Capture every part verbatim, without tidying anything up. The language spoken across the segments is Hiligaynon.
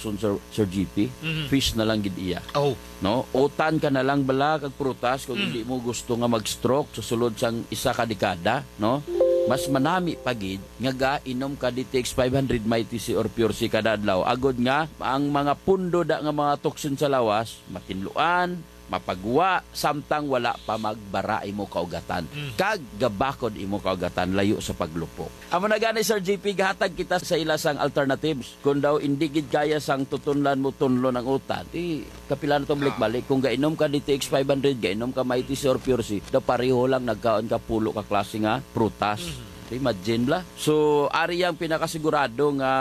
Sir, Sir G P, Mhm. fish na lang gid iya. Oh. No? Utan ka na lang bala kag prutas kung Mm. hindi mo gusto nga mag-stroke sa sulod sang isa ka dekada, no? Mas manami pa gid nga gainom ka D T X five hundred, Mighty C or Pure C kada adlaw, agod nga ang mga pundo da nga mga toxin sa lawas matinluan, mapagwa, samtang wala pa magbara imo kaugatan. Mm. Kag gabakod imo kaugatan, layo sa paglupok. Amo na gani, Sir G P, gahatag kita sa ila sang alternatives. Kung daw indi gid kaya sang tutunlan mo tunlon ang utan, di kapila na to Ah. balik-balik. Kung gainom ka D T X five hundred, gainom ka Mighty C or Pure C, daw pareho lang nagkaon ka pulo ka klase nga prutas. Mhm. Imagine la. So, ari ang pinakasigurado nga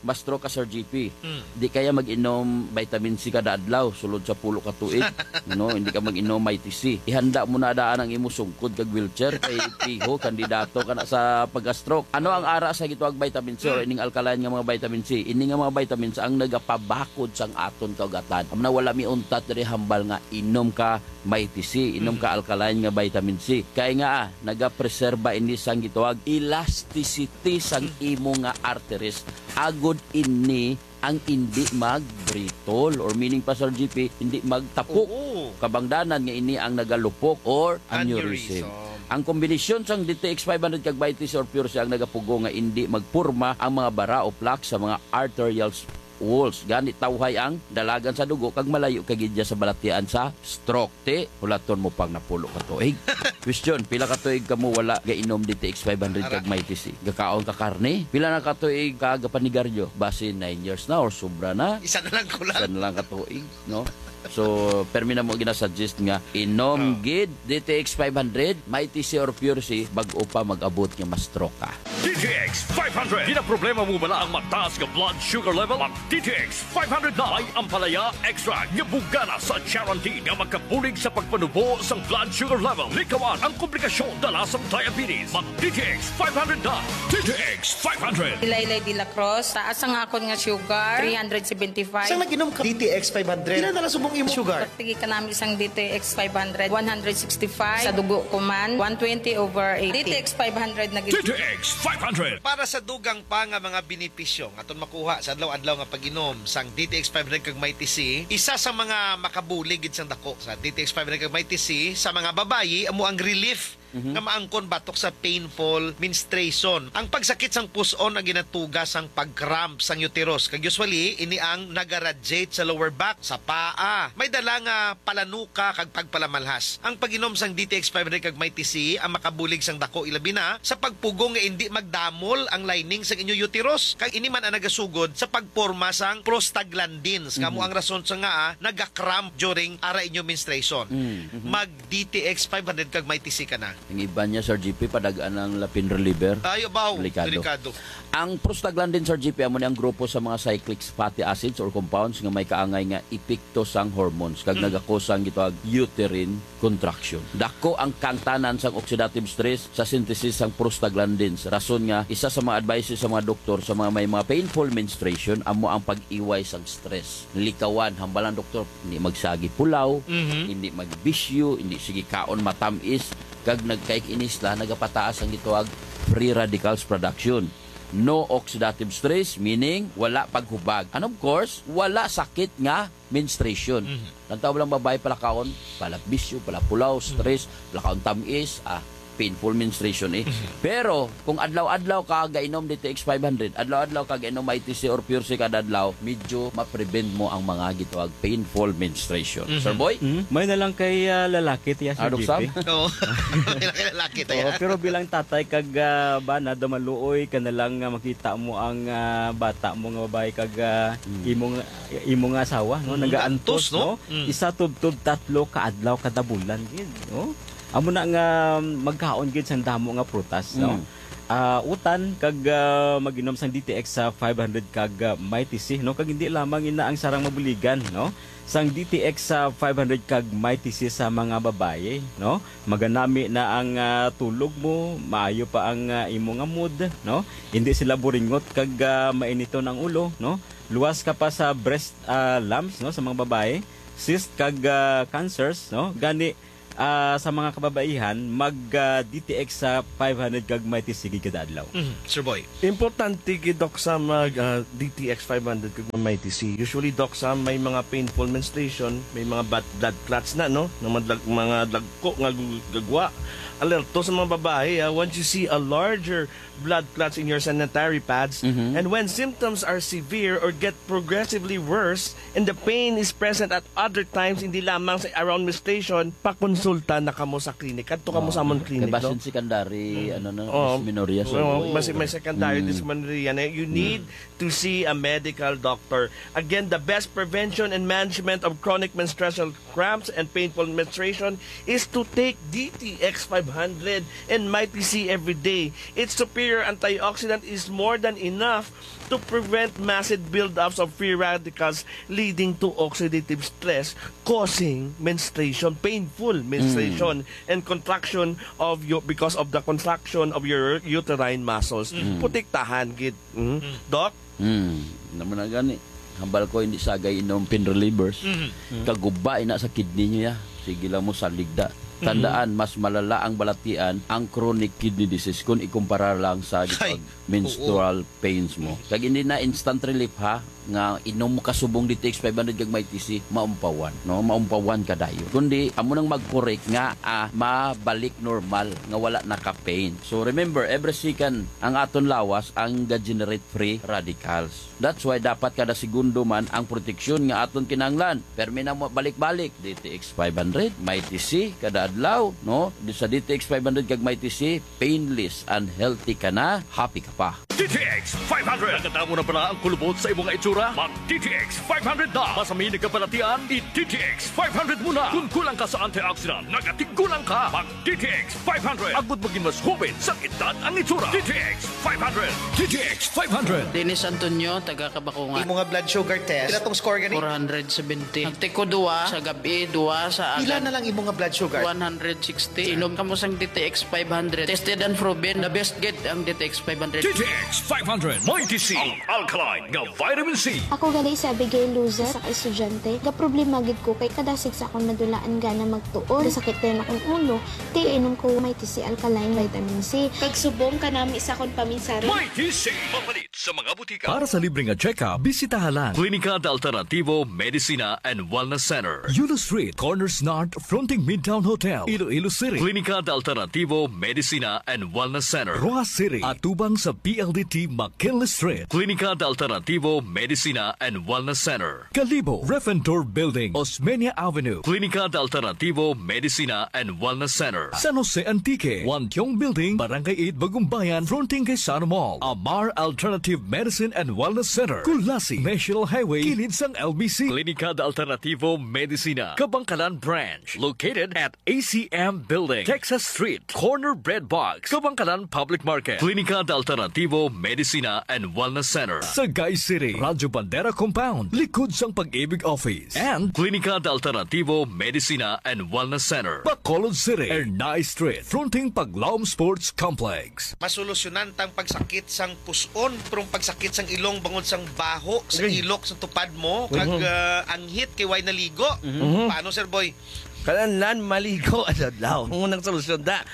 ma-stroke ka, Sir G P. Mm. Di kaya mag-inom vitamin C kada adlaw, sulod sa pulo ka tuig. No, hindi ka mag-inom Mighty C. Ihanda mo na daan ang imo sungkod kag wheelchair kay piho, kandidato ka na sa pagka-stroke. Ano ang ara sa gitawag vitamin C or Mm. ining alkaline nga mga vitamin C? Ini nga mga vitamins ang nagapabakod sang aton kaugatan. Amo na wala mi untat diri hambal nga inom ka Mighty C, inom Mm. ka alkaline nga vitamin C. Kay nga, ah, nagapreserba ini sang gitawag elasticity sang Mm. imo nga arteries. Agod ini ang indi mag-brittle, or meaning pa, Sir G P, hindi magtapok. Oo. Kabangdanan nga ini ang nagalupok or aneurysm. Aneurysm. Ang kombinasyon sang D T X five hundred kag Mighty C or Pure C ang nagapugo nga indi magporma ang mga bara o plaque sa mga arterial walls. Gani tawhay ang dalagan sa dugo kag malayo ka gid sa balatian sa stroke. Ti, hulaton mo pang napulo ka tuig. Question, pila ka tuig kamo wala gainom D T X five hundred kag Ara. Mighty C? Gakaon ka karne? Pila na ka tuig ka gapanigaryo? Basi nine years na or sobra na? Isa na lang ko lang. Isa na lang ka tuig, no? So, permi na mo ginasuggest nga inom Oh. gid D T X five hundred, Mighty C or Pure C, bag-o pa mag-abot nga ma-stroke ka. D T X five hundred. Ginaproblema mo bala ang mataas nga blood sugar level? Mag D T X five hundred na. May ampalaya extract nga bugana sa charantin nga makabulig sa pagpanubo sang blood sugar level. Likawan ang komplikasyon dala sang diabetes. Mag D T X five hundred na. D T X five hundred. Ilaylay de la Cruz, taas ang akon nga sugar, three hundred seventy-five. Sang nag-inom ka D T X five hundred, pila na lang subong imo sugar? Pagtigi ka namin sang D T X five hundred, one hundred sixty-five. Sa dugo ko man, one twenty over eighty. D T X five hundred na gid. D T X five hundred. Para sa dugang pa nga mga benepisyo nga aton makuha sa adlaw-adlaw nga pag-inom sang D T X five hundred kag Mighty C, isa sa mga makabulig gid sang dako sa D T X five hundred kag Mighty C sa mga babayi amo ang relief Mhm. nga maangkon batok sa painful menstruation. Ang pagsakit sang pus-on ang ginatuga sang pag-cramp sang uterus, kag usually ini ang nagaradiate sa lower back, sa paa. May dala nga palanuka kag pagpalamalhas. Ang pag-inom sang D T X five hundred kag Mighty C ang makabulig sang dako, ilabi na sa pagpugong nga indi magdamol ang lining sang inyo uterus, kag ini man ang nagasugod sa pagporma sang prostaglandins, nga amo Mhm. ang rason sa nga, ah, naga-cramp during ara inyo menstruation. Mm, mhm. Mag D T X five hundred kag Mighty C ka na. Ang iban niya, Sir G P, padag-an ang lapin reliever. Ay, abaw, Delikado. delikado. Ang prostaglandin, Sir G P, amo ni ang grupo sa mga cyclic fatty acids or compounds nga may kaangay nga epekto sang hormones kag Mm. nagakos sang gitawag uterine contraction. Dako ang kangtanan sang oxidative stress sa synthesis sang prostaglandins. Rason nga isa sa mga advices sa mga doktor sa mga may mga painful menstruation amo ang pag-iway sang stress. Likawan, hambal ang doktor, hindi magsagi pulaw, Mhm. hindi magbisyo, hindi sige kaon matamis, kag nagkaikinis la, nagapataas ang gitawag free radicals production. No oxidative stress, meaning wala paghubag. And of course, wala sakit nga menstruation. Mhm. Ang tawag lang babae palakaon, palabisyo, palapulaw, Mhm. stress, palakaon tamis, ah, painful menstruation eh. Mhm. Pero kung adlaw-adlaw ka gainom D T X five hundred, adlaw-adlaw ka gainom I T C or Pure C kada adlaw, medyo ma-prevent mo ang mga gitawag painful menstruation. Mhm. Sir Boy? Mhm. May na lang kay, ah, lalaki, tiya, Sir Ano, G P? Sam? Oo. May na kay lalaki, tiya. Oo, pero bilang tatay kag, ah, bana, daw maluoy ka na lang nga makita mo ang, ah, bata mo nga babae kag, ah, Hmm. imong, imong asawa, no? Hmm, Nagaantos, antos, no? no? Hmm. Isa tubtob tatlo ka adlaw kada bulan gid, no? Amo na nga magkaon gid sang damo nga prutas, no? Mm. Ah, utan kag, ah, mag-inom sang D T X sa five hundred kag, ah, Mighty C, no? Kag hindi lamang ina ang sarang mabuligan, no? Sang D T X sa five hundred kag Mighty C sa mga babayi, no? Maganami na ang, ah, tulog mo, maayo pa ang, ah, imo nga mood, no? Hindi sila buringot kag, ah, mainiton ang ulo, no? Luwas ka pa sa breast, ah, lumps, no, sa mga babayi, cyst kag, ah, cancers, no? Gani, Ah, sa mga kababaihan, mag, ah, D T X sa five hundred kag Mighty C gid kada adlaw. Mhm, Sir Boy. Importante gid, Doc, sa mag, ah, D T X five hundred kag Mighty C. Usually, Doc, sa may mga painful menstruation, may mga bad, blood clots na, no? Ng mga, dag- mga dagko nga gu- gagwa. Alerto sa mga babae, ah, once you see a larger blood clots in your sanitary pads, Mhm. and when symptoms are severe or get progressively worse, and the pain is present at other times, hindi lamang sa around menstruation, pakonsulta na kamo sa klinik. Kadto kamo sa amon klinik, Kay basin no? secondary, Mm. ano na, Oo. dysmenorrha, sir. Oo, Boy. basi may secondary Mm. dysmenorrhea na, you Mm. need to see a medical doctor. Again, the best prevention and management of chronic menstrual cramps and painful menstruation is to take D T X five hundred and Mighty C every day. Its superior antioxidant is more than enough to prevent massive buildups of free radicals leading to oxidative stress causing menstruation, painful menstruation, Mm. and contraction of your, because of the contraction of your uterine muscles. Mm. Protektahan gid. Mm. Mm. Doc? Hmm, naman na gani. Hambal ko, hindi sagay inom pain relievers. Mhm. Kaguba ina sa kidney niya. Sige lang mo saligda. Mhm. Tandaan, mas malala ang balatian, ang chronic kidney disease, kung ikumpara lang sa Ay, gitawag menstrual pains mo. Mhm. Kag hindi na instant relief, ha, nga inom mo kasubong D T X five hundred kag Mighty C, maumpawan, no? Maumpawan ka dayon. Kundi, amo nang mag-correct nga, ah, mabalik normal, nga wala na ka pain. So, remember, every second, ang aton lawas ang ga-generate free radicals. That's why dapat kada segundo man ang proteksyon nga aton kinahanglan. Permi na mo balik-balik, D T X five hundred, Mighty C, kada adlaw, no? Di sa D T X five hundred kag Mighty C, painless and healthy ka na, happy ka pa. D T X five hundred. Nakadamo na bala ang kulubot sa imong itsura? Mag D T X five hundred na. Masami nagkabalatian, i D T X five hundred mo na. Kung kulang ka sa antioxidant, nagatigulang ka. Mag D T X five hundred. Agud maging mas hoben sa edad ang itsura. D T X five hundred. D T X five hundred. Dennis Antonio, taga Kabakungan. Imo nga blood sugar test, pila tong score gani? Four hundred seventy. Nagtiko duwa sa gabi, duwa sa Pila agad. na lang imo nga blood sugar? One hundred sixty. Inom kamo sang D T X five hundred. Tested and proven. The best gid ang D T X five hundred. D T X five hundred. Mighty C. Ang alkaline nga vitamin C. Ako gali si Abigail Luzet, sa ka-estudyante. Gaproblema gid ko kay kadasig sa akong madulaan gana magtuon. Gasakit dayon akong ulo. Ti inom ko Mighty C Alkaline Vitamin C. Kag subong kanami sa akong paminsari. Mighty C. Mapalit sa mga butika. Para sa libre nga check-up, bisitaha lang Klinika de Alternativo Medicina and Wellness Center. Yulo Street, Corners North, fronting Midtown Hotel, Iloilo City. Klinika de Alternativo Medicina and Wellness Center. Roxas City, atubang sa P L D T McKinley Street. Klinika de Alternativo Medicina and Wellness Center. Kalibo, Refentor Building, Osmeña Avenue. Klinika de Alternativo Medicina and Wellness Center. San Jose Antique, Wantiong Building, Barangay eight, Bagumbayan, fronting kay Sano Mall. Amar Alternative Medicine and Wellness Center, Culasi, National Highway, kilid sang L B C. Klinika de Alternativo Medicina, Kabangkalan Branch, located at A C M Building, Texas Street, corner Bread Box, Kabangkalan Public Market. Klinika de Alternativo Medicina and Wellness Center, Sagay City, Radyo Bandera Compound, likod sang Pag-ibig Office, and Klinika de Alternativo Medicina and Wellness Center, Bacolod City, Ernai Street, fronting Paglaom Sports Complex. Masolusyonan tang pagsakit sang pus-on, pero ang pagsakit sang ilong bangod sang baho, sa Okay. ilok, sa tupad mo, kag, Mhm. ah, anghit kay way naligo. Mhm. Paano, Sir Boy? Kalanlan maligo sa adlaw. Ang unang solusyon da.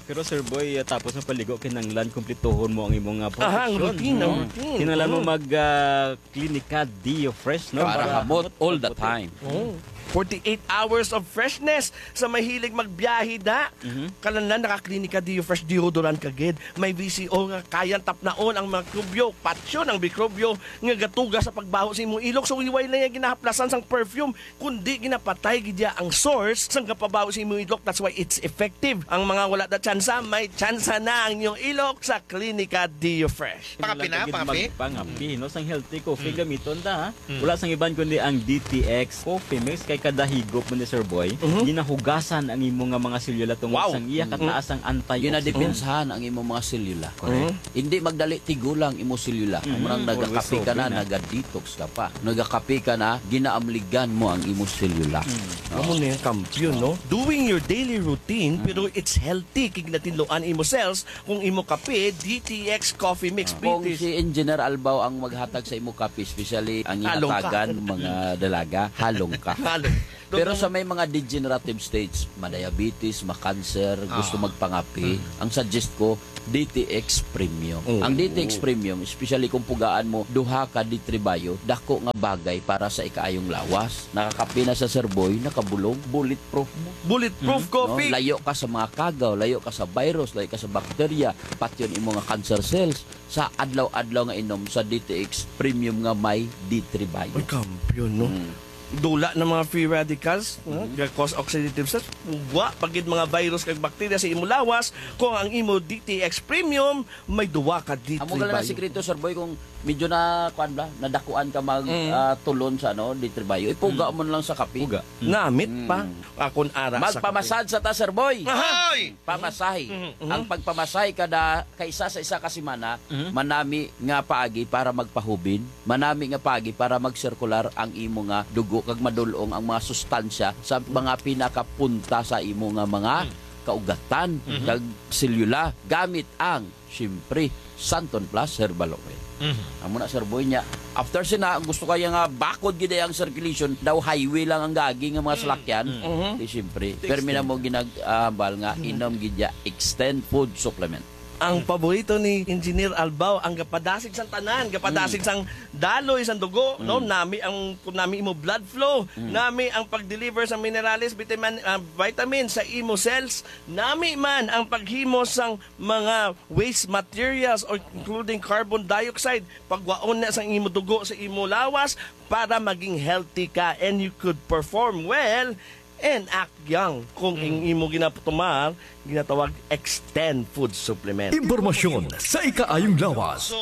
Pero, Sir Boy, ah, tapos mapaligo, kinahanglan kumplituhon mo ang imong, ah, Aha, ang proteksyon. routine, ang Mm. routine. Kinahanglan mo Mm. mag, ah, Klinika Deo Fresh, no? Para Para hamot hamot all the pagputi. time. Oh. Forty-eight hours of freshness sa mahilig magbiyahe da. Mhm. Kalanlan naka Klinika Deo Fresh deodorant ka gid. May V C O nga kayang tapnaon ang mikrobyo, patyon ang mikrobyo nga gatuga sa pagbaho sa imong ilok. So, way lang nga ginahaplasan sang perfume, kundi ginapatay gid ya ang source sang gapabaho sa imong ilok. That's why it's effective. Ang mga wala na tsansa, may tsansa na ang inyong ilok sa Klinika Deo Fresh. Pangapi na, Kailangan pangapi? gid magpangapi, no? Sang healthy coffee Mm. gamiton ta, ha? Mm. Wala sang iban kundi ang D T X Coffee Mix kay kada higop mo ni Sir Boy, Mhm. ginahugasan ang imo nga mga selula tungod Wow. sang iya Mm. kataas ang antioxidant. Ginadepensahan ang imo mga selula. Correct. Mhm. Hindi magdali tigulang imo selula. Mhm. Murang Always nagakape ka na, open, ah. naga-detox ka pa. Nagakape ka na, ginaamligan mo ang imo selula. Mm. Amo na yung kampiyon, no? Doing your daily routine, Mm. pero it's healthy. Kig natinluan imo cells, kung imo kape, D T X Coffee Mix, Ah. Kung British. si Engineer Albaw ang maghatag sa imo kape, especially ang Halong ka. ihatagan, mga dalaga, halong ka. Halong. Pero sa may mga degenerative states, ma-diabetes, ma-cancer, gusto Ah. magpangapi, Mm. ang suggest ko, D T X Premium. Oo. Ang D T X Premium, especially kung pugaan mo, duha ka D three Bio, dako nga bagay para sa ikaayong lawas. Nakakapi na sa Sir Boy, nakabulong, bulletproof mo. Bulletproof Mm. coffee. No? Layo ka sa mga kagaw, layo ka sa virus, layo ka sa bakterya, patyon imo nga cancer cells sa adlaw-adlaw nga inom sa D T X Premium nga may D three Bio. Ay, kampiyon, no? Mm. Dula ng mga free radicals, no? Mm. Nga cause oxidative stress. Ugwa, pagid mga virus kag bakterya sa imo lawas, kung ang imo D T X Premium may duwa ka D three Amo gala na Bio. Sikreto, Sir Boy, kung medyo na, kuan ba, nadakuan ka mag, Mm. ah, tulon sa, ano, D three Bio, ipuga Mm. mo na lang sa kape. Puga. Namit Mm. pa. Akon ara sa kape. Magpamasad sa ta, Sir Boy. Aha! Hoy! Pamasahe. Mhm, mhm. Ang pagpamasahe kada, kaisa sa isa ka semana, Mhm. manami nga paagi para magpahubin, manami nga paagi para magsirkular ang imo nga dugo kag madul-ong ang mga sustansya sa mga pinakapunta sa imo nga mga Mhm. kaugatan Mhm. kag selula gamit ang, siyempre, Santon Plus Herbal Oil. Mhm. Amo na, Sir Boy, niya. After sina, ang gusto kaya nga bakod gid ang circulation, daw highway lang ang gagi nga mga Mm. salakyan. Mm. Mhm. Di, siyempre. Extend. Permi na mo ginag-, ah, hambal nga, Mm. inom gid ya, extend food supplement. Ang Mm. paborito ni Engineer Albao, ang gapadasig sang tanan, gapadasig Mm. sang daloy sang dugo, no? Mm. Nami ang, kung nami imo blood flow, Mm. nami ang pag-deliver sang minerales, vitamin, ah, vitamin sa imo cells, nami man ang paghimo sang mga waste materials, or including carbon dioxide, pagwaon na sa imo dugo, sa imo lawas, para maging healthy ka and you could perform well and act young. Kung Mm. ang imo ginatumar, ginatawag extend food supplement. Impormasyon sa ikaayong lawas. So,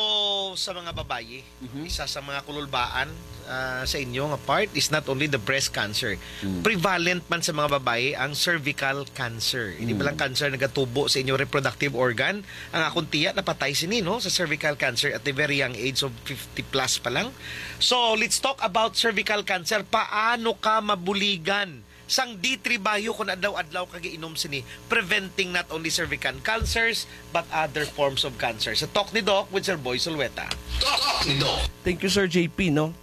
sa mga babayi, Mhm. isa sa mga kululbaan, ah, sa inyo nga part is not only the breast cancer. Mm. Prevalent man sa mga babayi ang cervical cancer. Hindi Mm. ba lang cancer nagatubo sa inyo reproductive organ? Ang akong tiya napatay sini, no, sa cervical cancer at the very young age of fifty plus pa lang. So, let's talk about cervical cancer. Paano ka mabuligan sang D three Bio kung adlaw-adlaw ka giinom sini, preventing not only cervical cancers but other forms of cancer? Sa Talk ni Doc with Sir Boy Zulueta. Talk ni Doc. Thank you, Sir J P, no?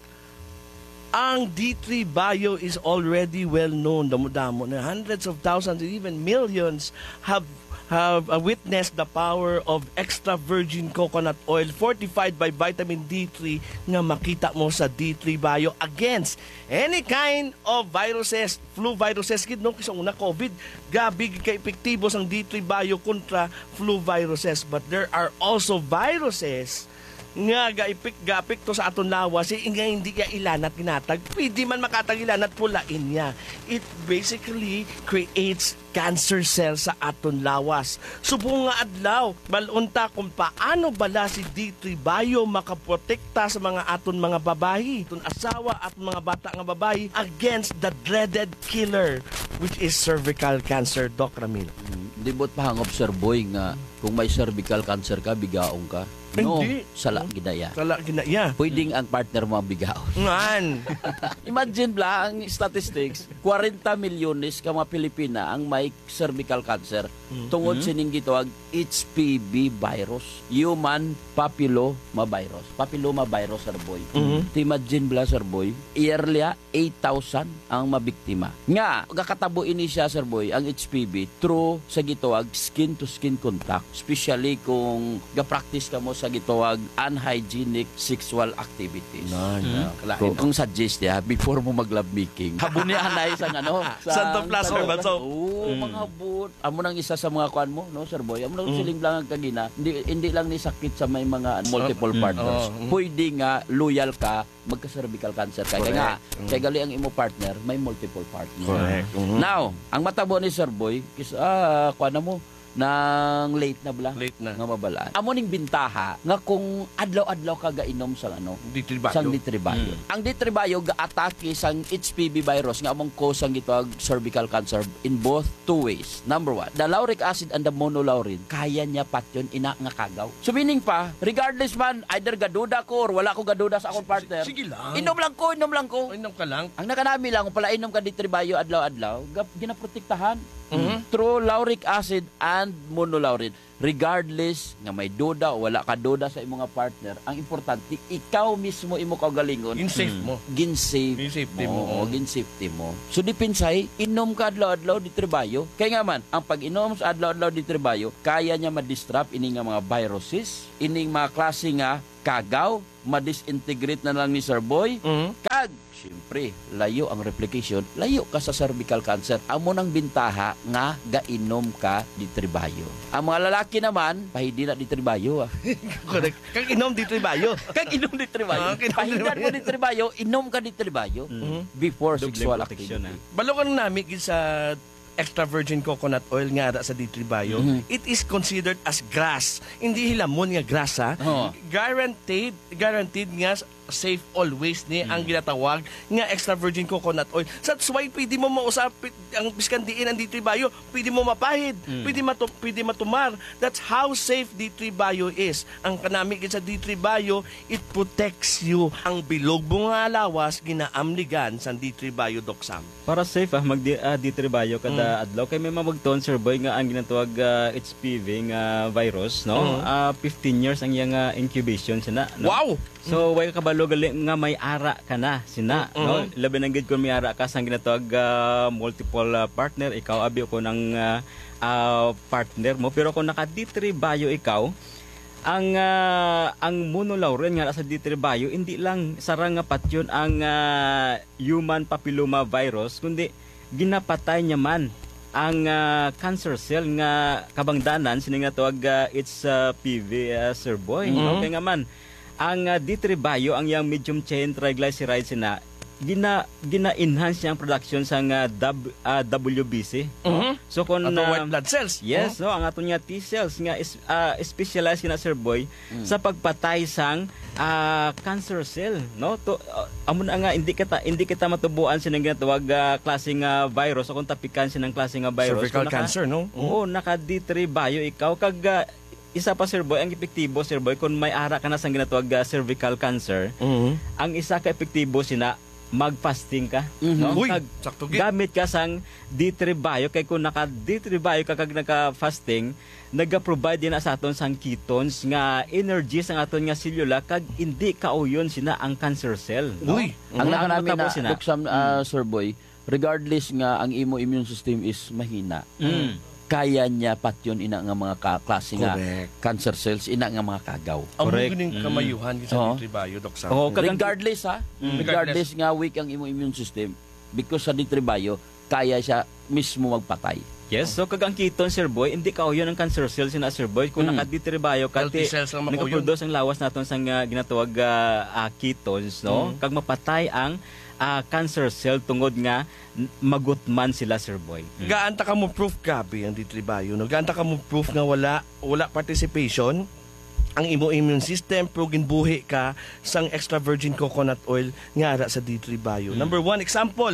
Ang D three Bio is already well known. Damo-damo na. Hundreds of thousands and even millions have, have, uh, witnessed the power of extra virgin coconut oil fortified by vitamin D three nga makita mo sa D three Bio against any kind of viruses, flu viruses gid, no? Kay sa una, COVID, gabi gid ka epektibo sang D three Bio kontra flu viruses. But there are also viruses nga gaipik-, gaapekto sa aton lawas, eh, nga hindi ya ilanat ginatag. Pwede man makatag ilanat, pulain niya. It basically creates cancer cell sa aton lawas. Subong nga adlaw, bal-on ta kung paano bala si D three Bio makaprotekta sa mga aton mga babayi, aton asawa, at mga bata nga babayi against the dreaded killer, which is cervical cancer, Doc Ramil. Mm, di buot pahangop, Sir Boy, nga kung may cervical cancer ka, bigaong ka. No, hindi. Sala gid na iya. Sala gid na iya. Pwedeng ang partner mo ang bigaon. Ngan. Imagine bala ang statistics, kwarenta milyones ka mga Pilipina ang may cervical cancer Mm. tungod Mm. sining gitawag H P V virus, human papilloma virus. Papilloma virus, Sir Boy. Mm. Ti imagine bala, Sir Boy, yearly, ah, eight thousand ang mabiktima. Nga, gakatabo ini siya, Sir Boy, ang H P V through sa gitawag skin-to-skin contact, especially kung ga-practice ka mo sa gitawag unhygienic sexual activities. Na, na. Mm. Kalain, Kung, no? kung suggest niya, before mo mag-love making, habuni anay sa ano, sa Santon Plus Santon Herbal Plus. Soap. Oo, Mm. mga habot. Amo nang isa sa mga kuan mo, no, Sir Boy? Amo nang Mm. siling lang ang kagina, hindi, hindi lang ni sakit sa may mga multiple Mm. partners. Oo, mm. Pwede nga loyal ka, magka-cervical cancer ka. Kaya nga, Correct. Mm. kaya gali ang imo partner, may multiple partner. Correct. Mm-hmm. Now, ang matabo ni Sir Boy, kis-, ah, kuan na mo, nang late na bala Late na. nga mabalaan. Amo ning bintaha nga kung adlaw-adlaw ka gainom sang ano, D three Bio. sang D three Bio. Mm. Ang D three Bio gaatake sang H P V virus nga among cause sang gitawag cervical cancer in both two ways. Number one, the lauric acid and the monolaurin, kaya niya patyon ina nga kagaw. So meaning pa, regardless man, either gaduda ko or wala ko gaduda sa akong partner, Sige lang. inom lang ko, inom lang ko. Inom ka lang. Ang nakanami lang, kung pala inom ka D three Bio adlaw-adlaw, gap-, ginaprotektahan Mhm. through lauric acid and monolaurin. regardless nga may duda o wala ka duda sa imong nga partner, ang importante, ikaw mismo, imo kaugalingon, Gin-safe Mm. mo. gin-safe Gin-safety mo, mo, oo, mm. gin-safety mo. So, depensahi, inom ka adlaw-adlaw, D three Bio. Kay nga man, ang pag-inom sa adlaw-adlaw, D three Bio, kaya niya ma-disrupt ini nga mga viruses, ining mga klase nga kagaw, ma-disintegrate na lang ni Sir Boy. Mhm. Kag, siyempre, layo ang replication, layo ka sa cervical cancer. Amo nang bintaha nga gainom ka D three Bio. Ang mga lalaki naman, pahidi na D three Bio, ah. Correct. Kag inom D three Bio. Kag inom D three Bio. Ah, kag inom Pahidan D three Bio. mo D three Bio, inom ka D three Bio Mhm. before Doble sexual protection, activity. ah. Balo ka nang nami gid sa extra virgin coconut oil nga ara sa D three Bio. Mhm. It is considered as grass. Hindi hilamon nga grass, ha? Oo. Guaranteed, guaranteed nga s-, safe always ni ang Mm. ginatawag nga extra virgin coconut oil. That's why pwede mo mausap ang biskan diin ang D three Bio. Pwede mo mapahid, Mm. pwede matu-, pwede matumar. That's how safe D three Bio is. Ang kanami gid sa D three Bio, it protects you. Ang bilog mo nga lawas ginaamligan sang D three Bio, Doc Sam. Para safe, ah, mag di-, ah, D three Bio kada Mm. adlaw. Kay may mabugton, Sir Boy, nga ang ginatawag, ah, H P V nga virus, no? Mm. Ah, fifteen years ang iyang, ah, incubation sina, no? Wow! So, way ka kabalo gali nga may ara ka na sina, Mm, no? mm. Labi na gid kung may ara ka sang ginatawag, ah, multiple, ah, partner, ikaw abi ko ng, ah, ah, partner mo. Pero kung naka D three Bio ikaw, ang, ah, ang monolaurin nga sa D three Bio, hindi lang sarang nga patyon ang, ah, human papilloma virus, kundi ginapatay niya man ang, ah, cancer cell nga kabangdanan sini nga tawag, ah, H P V, ah, Sir Boy, no? Mhm. Kay nga man, ang, ah, D three Bio, ang yang medium chain triglycerides na gina-, gina-enhance niya ang production sa nga dab-, ah, W B C, no? Mhm. So, kung, Ato ah, white blood cells. Yes, Mhm. no, ang aton nga T cells nga is, ah, specialized na, Sir Boy, Mm. sa pagpatay sang, ah, cancer cell, no? To, ah, amo na nga, hindi kita, hindi kita matubuan sining ginatawag, ah, klase nga virus o kung tapikan sining klase nga virus. Cervical Kung naka-, cancer, no? Mm. oo, naka D three Bio ikaw. Kag, ah, isa pa, Sir Boy, ang epektibo, Sir Boy, kung may ara ka na sang ginatawag, ah, cervical cancer, Mm. ang isa ka epektibo sina, mag-fasting ka, Mhm. no? Uy, Kag sakto gid. gamit ka sang D three Bio, kay kung naka D three Bio ka kag naka-fasting, naga-provide din na sa aton sang ketones nga energy sang aton nga selula kag hindi kauyon sina ang cancer cell, no? Uy. Ang Mhm. Ang nakanami matabo na, sina. Doc Sam, ah, Mm. Sir Boy, regardless nga ang imo immune system is mahina, Mm. kaya niya patyon ina nga mga ka-, klase nga Correct. cancer cells, ina nga mga kagaw. Amo Correct. ganing Mm. kamayuhan gid sa Oo. D three Bio, Doc Sam. Oo, kag ang Regardless, ha? Mm. Regardless Regardless. nga weak ang imo immune system, because sa D three Bio, kaya siya mismo magpatay. Yes, so kag ang ketone, Sir Boy, hindi kauyon ang cancer cells na, Sir Boy. Kung Mm. naka-D three Bio ka, Healthy ti-, cells lang makauyon. nagaproduce ang lawas naton sa nga ginatawag, ah, ah, ketones, no? Mm. Kag mapatay ang, ah, cancer cell tungod nga n-, magutman sila, Sir Boy. Mm. Gaan ta ka mo proof, grabe ang D three Bio, no? Gaan ta ka mo proof nga wala, wala participation ang imo immune system, pero ginbuhi ka sang extra virgin coconut oil nga ara sa D three Bio. Mm. Number one, example,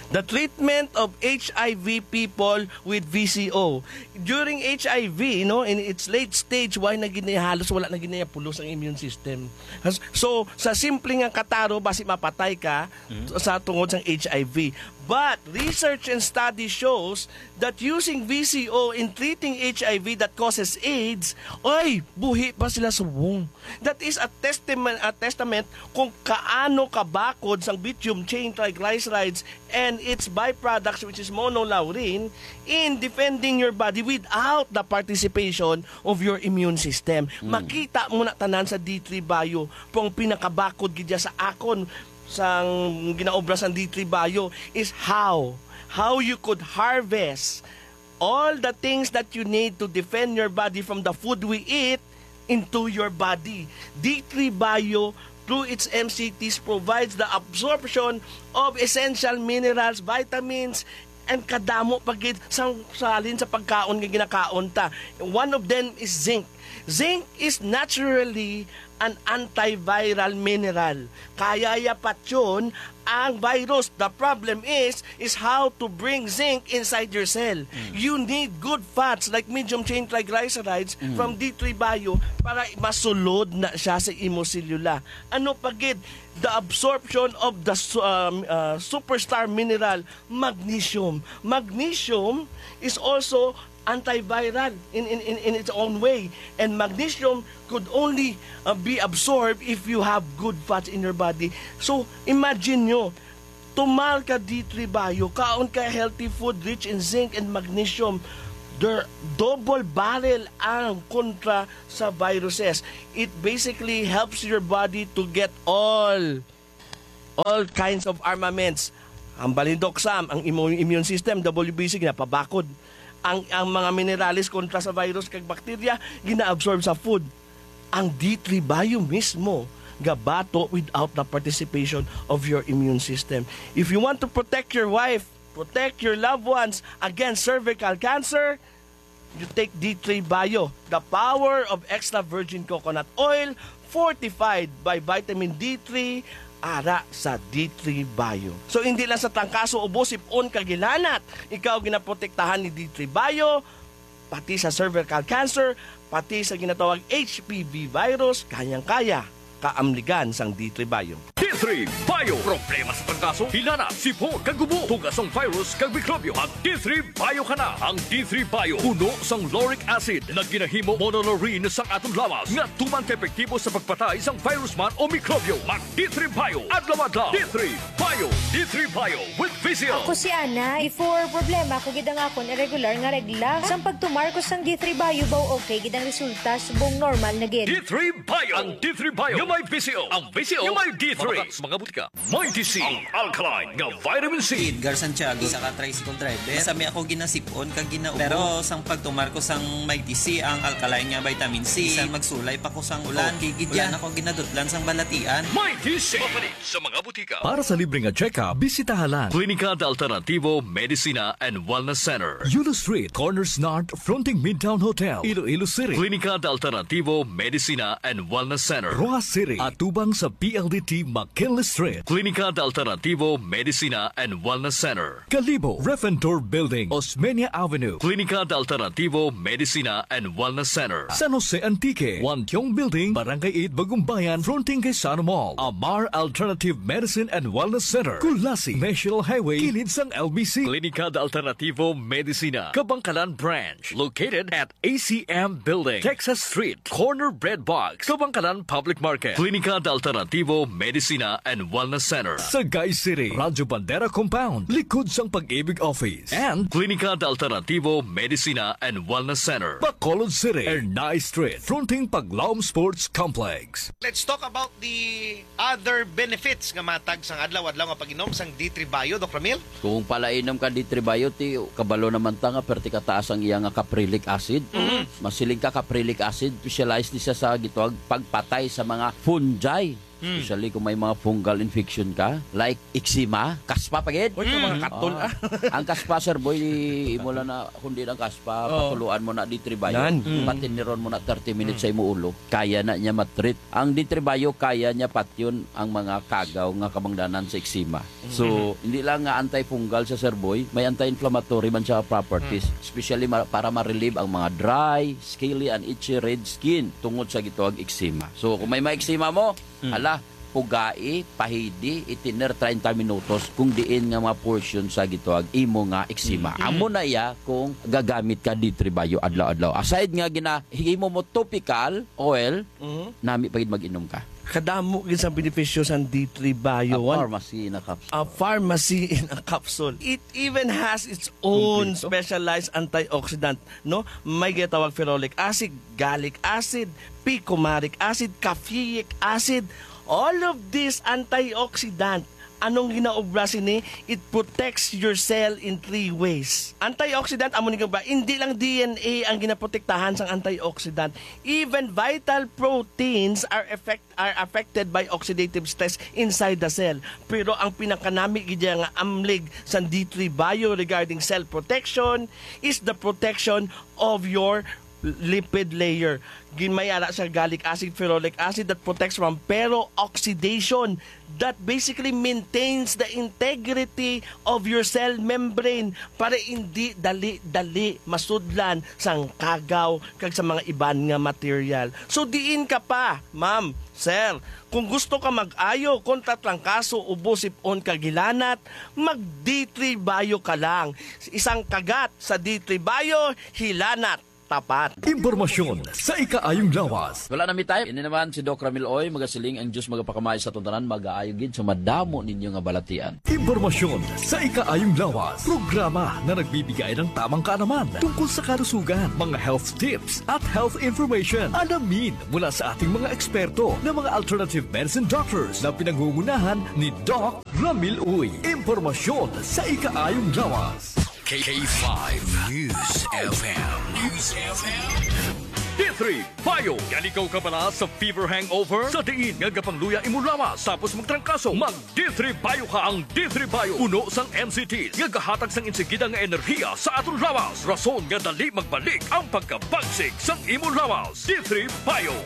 the treatment of H I V people with V C O. During H I V, no, in its late stage, why na gid niya halos wala na gid niya pulos ang immune system? Has-, so, sa simple nga kataro, basi mapatay ka Mm. sa tungod sang H I V. But research and study shows that using V C O in treating H I V that causes AIDS, oy, buhi pa sila subong. That is a testament, a testament kung kaano kabakod sang medium chain triglycerides and its byproducts, which is monolaurin, in defending your body without the participation of your immune system. Mm. Makita mo na tanan sa D three Bio, kung pinakabakod gid sa akon, sang ginaobra sang D three Bio is how, how you could harvest all the things that you need to defend your body from the food we eat into your body. D three Bio, through its M C Ts, provides the absorption of essential minerals, vitamins, and kadamo pa gid sang salin sa pagkaon nga ginakaon ta. One of them is zinc. Zinc is naturally an antiviral mineral. Kaya ya patyon ang virus. The problem is, is how to bring zinc inside your cell. Mm. You need good fats like medium chain triglycerides Mm. from D three Bio para masulod na siya sa imo selula. Ano pa gid? The absorption of the su-, um, uh, superstar mineral, magnesium. Magnesium is also antiviral in, in, in, in its own way. And magnesium could only uh, be absorbed if you have good fats in your body. So, imagine nyo, tumal ka D three Bio, kaon ka healthy food rich in zinc and magnesium. They're double barrel ang kontra sa viruses. It basically helps your body to get all all kinds of armaments. Ang balindok, Sam, ang imo immune system, W B C, ginapabakod. Ang, ang mga minerales kontra sa virus kag bakterya, gina-absorb sa food. Ang D three Bio mismo gabato without the participation of your immune system. If you want to protect your wife, protect your loved ones against cervical cancer, you take D three Bio, the power of extra virgin coconut oil fortified by vitamin D three, ara sa D three Bio. So, hindi lang sa trangkaso, ubo, sipon, kag hilanat, ikaw ginaprotektahan ni D three Bio, pati sa cervical cancer, pati sa ginatawag H P V virus, kayang-kaya kaamligan sang D three Bio. D three Bio. Problema sa trangkaso, hilanat, sipon, kag ubo, tugas sang virus kag mikrobyo. Mag D three Bio ka na. Ang D three Bio puno sang lauric acid nga ginahimo monolaurin sang aton lawas nga tuman ka epektibo sa pagpatay sang virus man o mikrobyo. Mag D three Bio adlaw-adlaw. D three Bio. D three Bio with Vizio. Ako si Ana. Before, problema ko gid ang akon irregular nga regla. Sang pagtumar ko sang D three Bio, baw okay gid ang resulta, subong normal na gid. D three Bio. Ang D three Bio nga may Vizio. Ang Vizio nga may D three. Mabakal sa mga butika. Mighty C, ang alkaline nga vitamin C. Edgar Santiago, isa ka tricycle driver. Sa mi ako ginasipon kag ginaubo. Pero sang pagtumar ko sang Mighty C, ang alkaline nga vitamin C, bisan magsulay pa ko sang ulan. Okay gid yan. Wala na ko ginadutlan sang balatian. Mighty C. Mapalit sa mga butika. Para sa libre nga check-up, bisitaha lang Klinika de Alternativo Medicina and Wellness Center, Yulo Street, Corners North, fronting Midtown Hotel, Iloilo City. Klinika de Alternativo Medicina and Wellness Center, Roxas City, atubang sa P L D T McKinley Street. Klinika de Alternativo Medicina and Wellness Center, Kalibo, Refentor Building, Osmeña Avenue. Klinika de Alternativo Medicina and Wellness Center, San Jose Antique, Wantiong Building, Barangay eight, Bagumbayan, fronting kay Sano Mall. Amar Alternative Medicine and Wellness Center, Culasi, National Highway, kilid sang L B C. Klinika de Alternativo Medicina, Kabangkalan Branch, located at A C M Building, Texas Street, corner Bread Box, Kabangkalan Public Market. Klinika de Alternativo Medicina and Wellness Center, Sagay City, Radyo Bandera Compound, likod sang Pag-ibig Office. And Klinika de Alternativo Medicina and Wellness Center, Bacolod City, Ernai Street, fronting Paglaom Sports Complex. Let's talk about the other benefits nga matag sang adlaw-adlaw nga pag-inom sang D three Bio, Doc Ramil. Kung palainom ka D three Bio, ti kabalo naman ta nga perti kataas ang iya nga caprylic acid. Mhm. Masiling ka, caprylic acid, specialized ni siya sa gitawag pagpatay sa mga fungi. Mm. Especially kung may mga fungal infection ka, like eczema, kaspa pa gid. Uy, ka mga Mm. katol, ah. Ang kaspa, Sir Boy, imo lang na, kundi ang kaspa, Oo. patuluan mo na D three Bio. Yan. Mm. Patiniron mo na thirty minutes Mm. sa imo ulo. Kaya na niya matreat. Ang D three Bio, kaya niya patyon ang mga kagaw nga kabangdanan sa eczema. So, Mm. hindi lang nga antifungal siya, Sir Boy, may anti-inflammatory man siya properties, Mm. especially ma-, para ma-relieve ang mga dry, scaly, and itchy red skin tungod sa gitawag eczema. So, kung may mga eczema mo, Mm. hala, pugai, pahidi, itiner treinta minutos kung diin nga mga portion sa gitawag imo nga eczema. Mm. Amo na iya kung gagamit ka D three Bio adlaw-adlaw. Aside nga ginahimo mo topical oil, Mhm. nami pa gid mag-inom ka. Kadamo gid sa benepisyo sang D three Bio. A One, pharmacy in a capsule. A pharmacy in a capsule. It even has its own Kompleto. specialized antioxidant, no? May ginatawag ferulic acid, gallic acid, picumaric acid, caffeic acid. All of these antioxidant, anong ginaobra sini? It protects your cell in three ways. Antioxidant, amo ni ba, hindi lang D N A ang ginaprotektahan sang antioxidant. Even vital proteins are affect-, are affected by oxidative stress inside the cell. Pero ang pinakanami gid nga amlig sang D three Bio regarding cell protection is the protection of your lipid layer. Gin-, may ara siya gallic acid, ferulic acid that protects from peroxidation, that basically maintains the integrity of your cell membrane para hindi dali-dali masudlan sang kagaw kag sa mga iban nga material. So diin ka pa, ma'am, sir, kung gusto ka mag-ayo kontra trangkaso, ubo, sip-on kag hilanat, mag D three Bio ka lang. Isang kagat sa D three Bio, hilanat tapat. Impormasyon sa ikaayong lawas. Wala na mi time. Ini naman si Doc Ramil Oy, magasiling ang Diyos magapakamay sa aton tanan, magaayo gid sa madamo ninyo nga balatian. Impormasyon sa ikaayong lawas. Programa na nagbibigay ng tamang kaalaman tungkol sa kalusugan, mga health tips at health information. Alamin mula sa ating mga eksperto na mga alternative medicine doctors na pinangungunahan ni Doc Ramil Uy. Impormasyon sa ikaayong lawas. K five News F M. News F M. D three Bio. Yan ikaw kabala sa fever hangover? Sa diin nga gapangluya imo lawas tapos magtrangkaso, mag D three Bio ka. Ang D three Bio, puno sang M C Ts nga gahatag sang insigida nga enerhiya sa aton lawas, rason nga dali magbalik ang pagkabagsik sang imo lawas. D three Bio.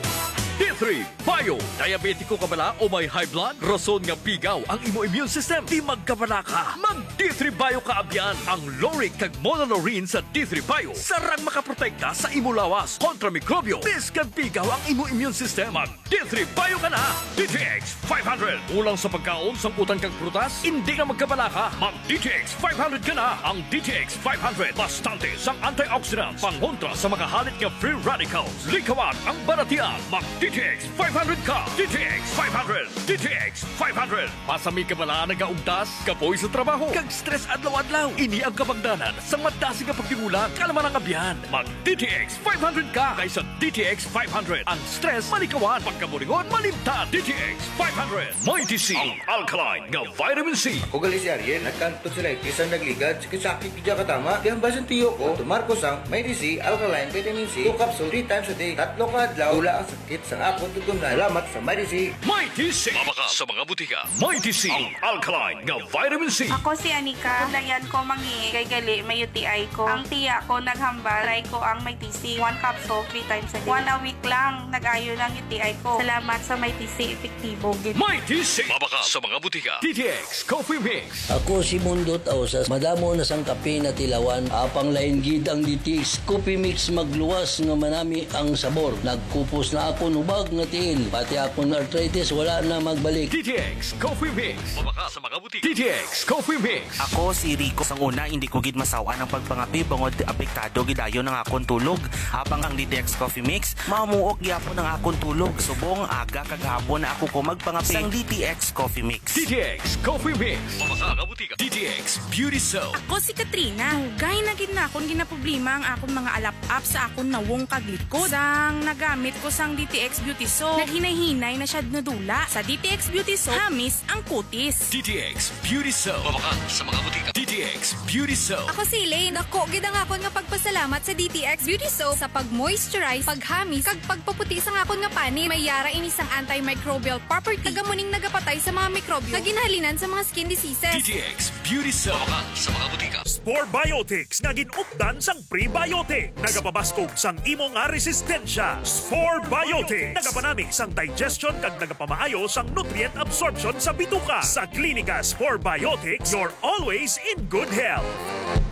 D three Bio. Diabetiko ka bala o may high blood? Rason nga pigaw ang imo immune system? Di magkabala ka. Mag D three Bio ka, abyan. Ang lauric kag monolaurin sa D three Bio sarang makaprotekta sa imo lawas kontra mikrobyo. Biskag pigaw ang imo immune system, mag D three Bio ka na. D T X five hundred. Kulang sa pagkaon, sangkutan kag prutas? Indi na magkabala ka. Mag D T X five hundred ka na. Ang D T X five hundred, bastante sang antioxidants, pangontra sa makahalit nga free radicals. Likawan ang balatian. Mag D T X five hundred ka. D T X five hundred. D T X five hundred. Masami ka bala nagaugtas, kapoy sa trabaho, kag stress adlaw-adlaw? Ini ang kabangdanan sang madasig nga pagtigulang. Kalma lang, abyan. Mag D T X five hundred ka kaysa D T X five hundred. Ang stress malikawan, pagkaburingon malimtan. D T X five hundred. Mighty C, ang alkaline nga vitamin C. Ako gali si Ariel, nagkanto sila iti sa nagligad, sakit-sakit gid katama. Kaya ang basin tiyo ko, tumar ko sang Mighty C, alkaline vitamin C, two capsule, three times a day. Tatlo ka adlaw, wala ang sakit sang akon tutumnan. Salamat sa Mighty C. Mighty C. Mabakal sa mga butika. Mighty C, ang alkaline nga vitamin C. Ako si Anika. Kadayan ko mangihi kay gali may U T I ko. Ang tiya ko naghambal, try ko ang Mighty C. One capsule, three times a day. One a week lang, nag-ayo na ang U T I ko. Salamat sa Mighty C, epektibo gid. Mighty C. Mabakal sa mga butika. D T X Coffee Mix. Ako si Mundot Ausas. Madamo na sang kape natilawan. Apang lain gid ang D T X Coffee Mix, magluwas nga manami ang sabor. Nagkupos na akon hubag nga tiil. Pati akon arthritis wala na magbalik. D T X Coffee Mix. Mabakal sa mga butika. D T X Coffee Mix. Ako si Rico. Sang una, hindi ko gid masaw-an ang pagpangape bangod apektado gid dayon ang akon tulog. Apang ang D T X Coffee Mix, mamuok gyapon ang akon tulog. Subong aga kag hapon na ako ko magpangape sang D T X Coffee Mix. D T X Coffee Mix. Mabakal sa mga butika. D T X Beauty Soap. Ako si Katrina. Dugay na gid na akon ginaproblema ang akon mga alap-ap sa akon nawong kag likod. Sang nagamit ko sang D T X Beauty Soap, naghinay-hinay na siya nadula. Sa D T X Beauty Soap, hamis ang kutis. D T X Beauty Soap. Mabakal sa mga butika. D T X Beauty Soap. Ako si Elaine. Dako gid ang akon nga pagpasalamat sa D T X Beauty Soap sa pag-moisturize, paghamis, kag pagpaputi sang akon nga panit. May yara ini sang antimicrobial property, kag amo ning nagapatay sa mga mikrobyo nga ginhalinan sa mga skin diseases. D T X Beauty Soap. Mabakal sa mga butika. Spore Biotics nga gin-updan sang prebiotic. Nagapabaskog sang imo nga resistensya. Spore Biotics. Nagapanami sang digestion kag nagapamaayo sang nutrient absorption sa bituka. Sa Klinika Spore Biotics, you're always in good health.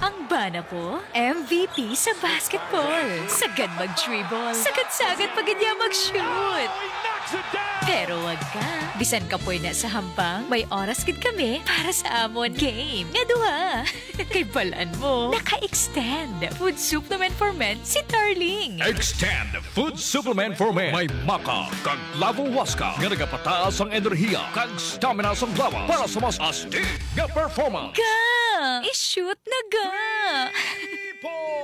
Ang bana ko, M V P sa basketball. Sagad mag-dribble. Sagad-sagad pa gid niya mag-shoot. Pero wag ka. Bisan kapoy na sa hampang, may oras gid kami para sa amon game nga duha. Kay balan mo, naka-extend Food Supplement for Men si Darling. Extend Food Supplement for Men. May maca kag clavo huasca nga nagapataas ang enerhiya kag stamina sang lawas para sa mas astig nga performance. Ga! I-shoot na ga!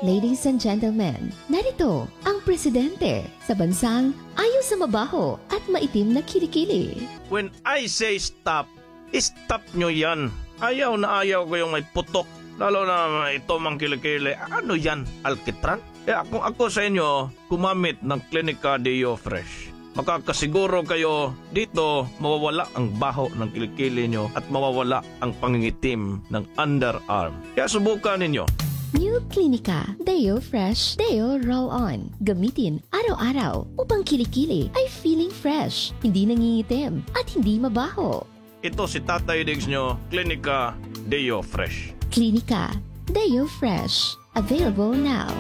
Ladies and gentlemen, narito ang presidente sa bansang ayo sa mabaho at maitim na kilikili. When I say stop, stop nyo yan. Ayaw na ayaw ko yung may putok, lalo na ito mang kilikili. Ano yan, alkitran? Kaya kung ako sa inyo, gumamit ng Clinica Deo Fresh. Makakasiguro kayo dito, mawawala ang baho ng kilikili nyo at mawawala ang pangingitim ng underarm. Kaya subukan ninyo. New Clinica Deo Fresh Deo Roll-On. Gamitin araw-araw upang kilikili ay feeling fresh, hindi nangingitim, at hindi mabaho. Ito si Tatay Diggs nyo, Klinika Deo Fresh. Klinika Deo Fresh. Available now.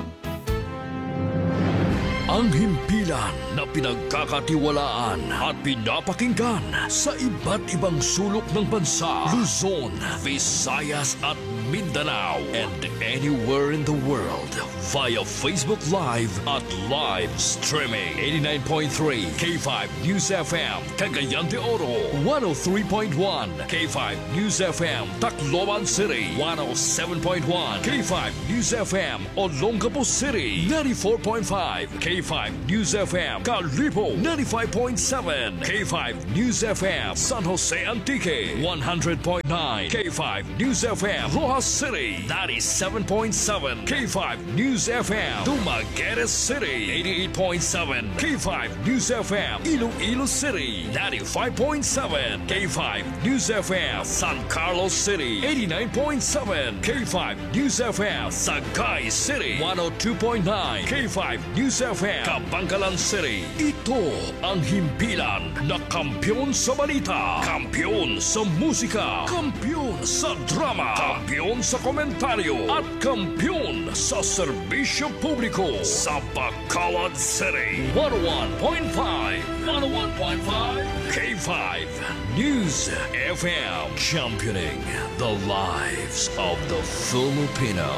Ang himpilan na pinagkakatiwalaan at pinapakinggan sa iba't ibang sulok ng bansa, Luzon, Visayas at Mindanao, and anywhere in the world via Facebook Live at live streaming. Eighty-nine point three K five News F M, Cagayan de Oro, one oh three point one K five News F M, Tacloban City, one oh seven point one K five News F M, Olongapo City, ninety-four point five K five News F M, Kalibo, ninety-five point seven K five News F M, San Jose Antique, one hundred point nine K five News F M, Roxas City, ninety-seven point seven K five News F M, Dumaguete City, eighty-eight point seven K five News F M, Iloilo City, ninety-five point seven K five News F M, San Carlos City, eighty-nine point seven K five News F M, Sagay City, one oh two point nine K five News F M, Kabankalan City. Ito ang himpilan na kampiyon sa balita, kampiyon sa musika, kampiyon sa drama, kampiyon sa komentaryo, at kampiyon sa serbisyo publiko sa Bacolod City. One oh one point five, one oh one point five K five News F M, championing the lives of the Filipino.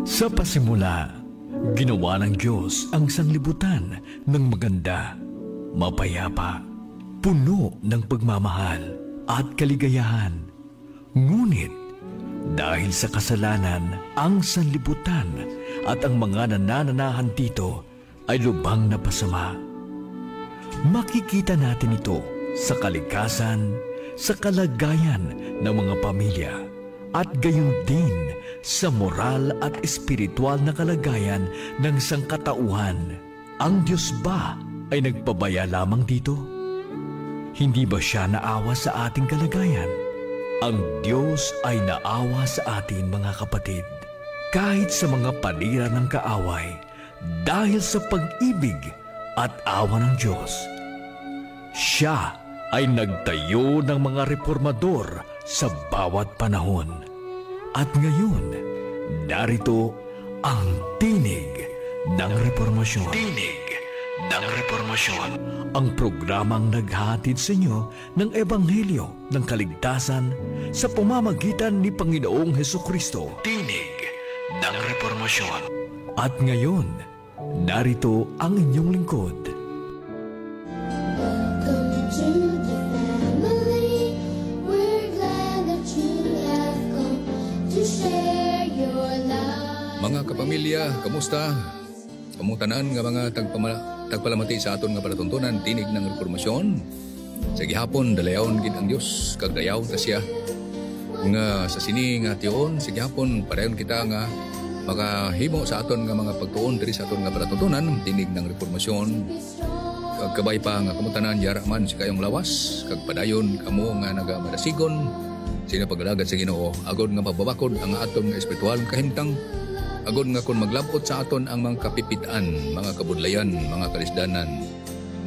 Sa pasimula, ginawa ng Diyos ang sanglibutan ng maganda, mapayapa, puno ng pagmamahal at kaligayahan. Ngunit, dahil sa kasalanan, ang sanlibutan at ang mga nanananahan dito ay lubhang napasama. Makikita natin ito sa kalikasan, sa kalagayan ng mga pamilya, at gayon din sa moral at espiritual na kalagayan ng sangkatauhan. Ang Diyos ba ay nagpabaya lamang dito? Hindi ba siya naawa sa ating kalagayan? Ang Diyos ay naawa sa atin, mga kapatid, kahit sa mga panira ng kaaway, dahil sa pag-ibig at awa ng Diyos. Siya ay nagtayo ng mga reformador sa bawat panahon. At ngayon, narito ang Tinig ng Reformasyon. Tinig ng Reformasyon. Ang programang naghahatid sa inyo ng Ebanghelyo ng kaligtasan sa pamamagitan ni Panginoong Hesukristo. Tinig ng Reformasyon. At ngayon, narito ang inyong lingkod. Welcome to the family. We're glad that you have come to share your life. Mga kapamilya, kamusta? Kamong tanan nga mga tagpama-, tagpalamati sa aton nga palatuntunan, Tinig ng Reformasyon. Sa gihapon, dalayawon gid ang Dios, kag dayawon ta siya. Nga sa sini nga tion, sa gihapon, padayon kita nga makahimo sa aton nga mga pagtuon diri sa aton nga palatuntunan, Tinig ng Reformasyon. Kag kabay pa nga kamo tanan yara man sa kaayong lawas, kag padayon kamo nga nagamadasigon sa inyong pag-alagad sa Ginoo, agod nga mababakod ang aton nga espiritual nga kahimtang, agod nga kon maglab-ot sa aton ang mga kapipit-an, mga kabudlayan, mga kalisdanan,